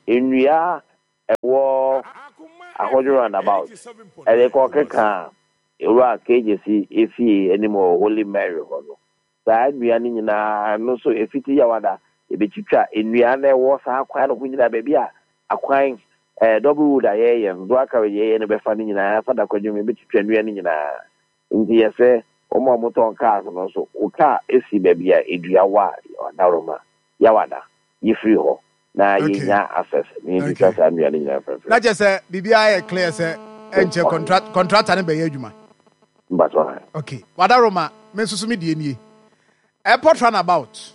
nnua ɛwɔ Ahodwo roundabout ɛde kɔ keka Ewura KJC efie anim wɔ Holy Mary hɔ no, saa nnua no nyinaa ɛno nso efiti Yawada yɛbɛtwitwa nnua no ɛwɔ saa kwan no ho nyinaa baabi a akwan ɛɛ double road a yɛyɛ no dual carriage yɛyɛ no bɛfa no nyinaa fa da kwadwom yɛbɛtwitwa nnua no nyinaa. Nti yɛsɛ wɔn a wɔtɔn cars no nso wo car si baabi a dua wɔ a adaworoma Yawada yi firi hɔ na yɛnya access na yɛntwitwa saa nnua no nyinaa mfimfini.
Na kyerɛ sɛ biribiara yɛ clear sɛ ɛnkyɛ contract contractor no bɛyɛ adwuma.
Mpatsɔ ha.
Okay, Wadaroma, me nso so me deɛ nie. Airport runabout.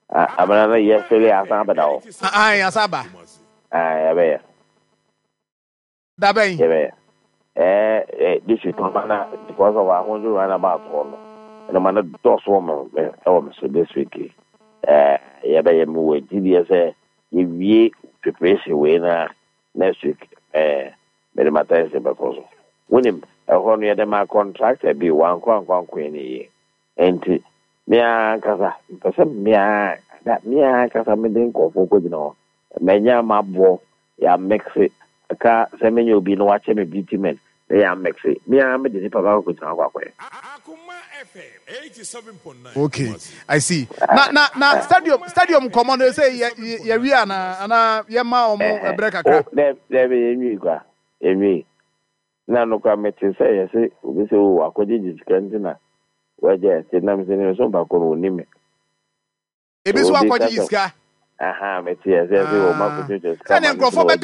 Ah, abena no yɛ fele asan abɛda hɔ.
Ah, asan aba.
Ah, yɛbɛyɛ.
Da bɛn?
Yɛbɛyɛ. Ɛɛ eh, this week ɔma na because of ahodwo runabout hɔ no, ɛna ma no dɔɔso wɔ me ɛwɔ me so this week. Ɛɛ yɛbɛyɛ me wɔ gyidie sɛ yɛwie preparation wei na next week ɛɛ mede m'attention bɛkɔ so. Wonim, ɛhɔ no yɛde ma contractor bi wankɔ ankɔ ankɔyɛ ne yie. Enti me ara ankasa mepɛ sɛ me ara me ara ankasa mede nkurɔfoɔ kɔgyina hɔ. Manya m'aboɔ yɛamekse aka sɛ menya obi na wakyɛ me bitumen na yɛamekse me ara mede nipa baako kɔgyina hɔ akɔ akɔyɛ.
Okay, I see. Na na na stadium stadium nkɔmɔ no sɛ yɛ yɛ wie ana ana yɛ ma wɔn ɛbrɛ kakra.
Oh, dɛ dɛ yɛ nwi kwa yɛ nwi. Na no kwa mete sɛ yɛ se obi sɛ o akɔgyegye sika nti na wagya ɛte nam sɛ ne so mpa ko no onim me.
Ebi nso akɔgyegye sika.
Aha, mete yɛ sɛ sɛ wɔn akɔgyegye sika
ma
no nti na
wagya.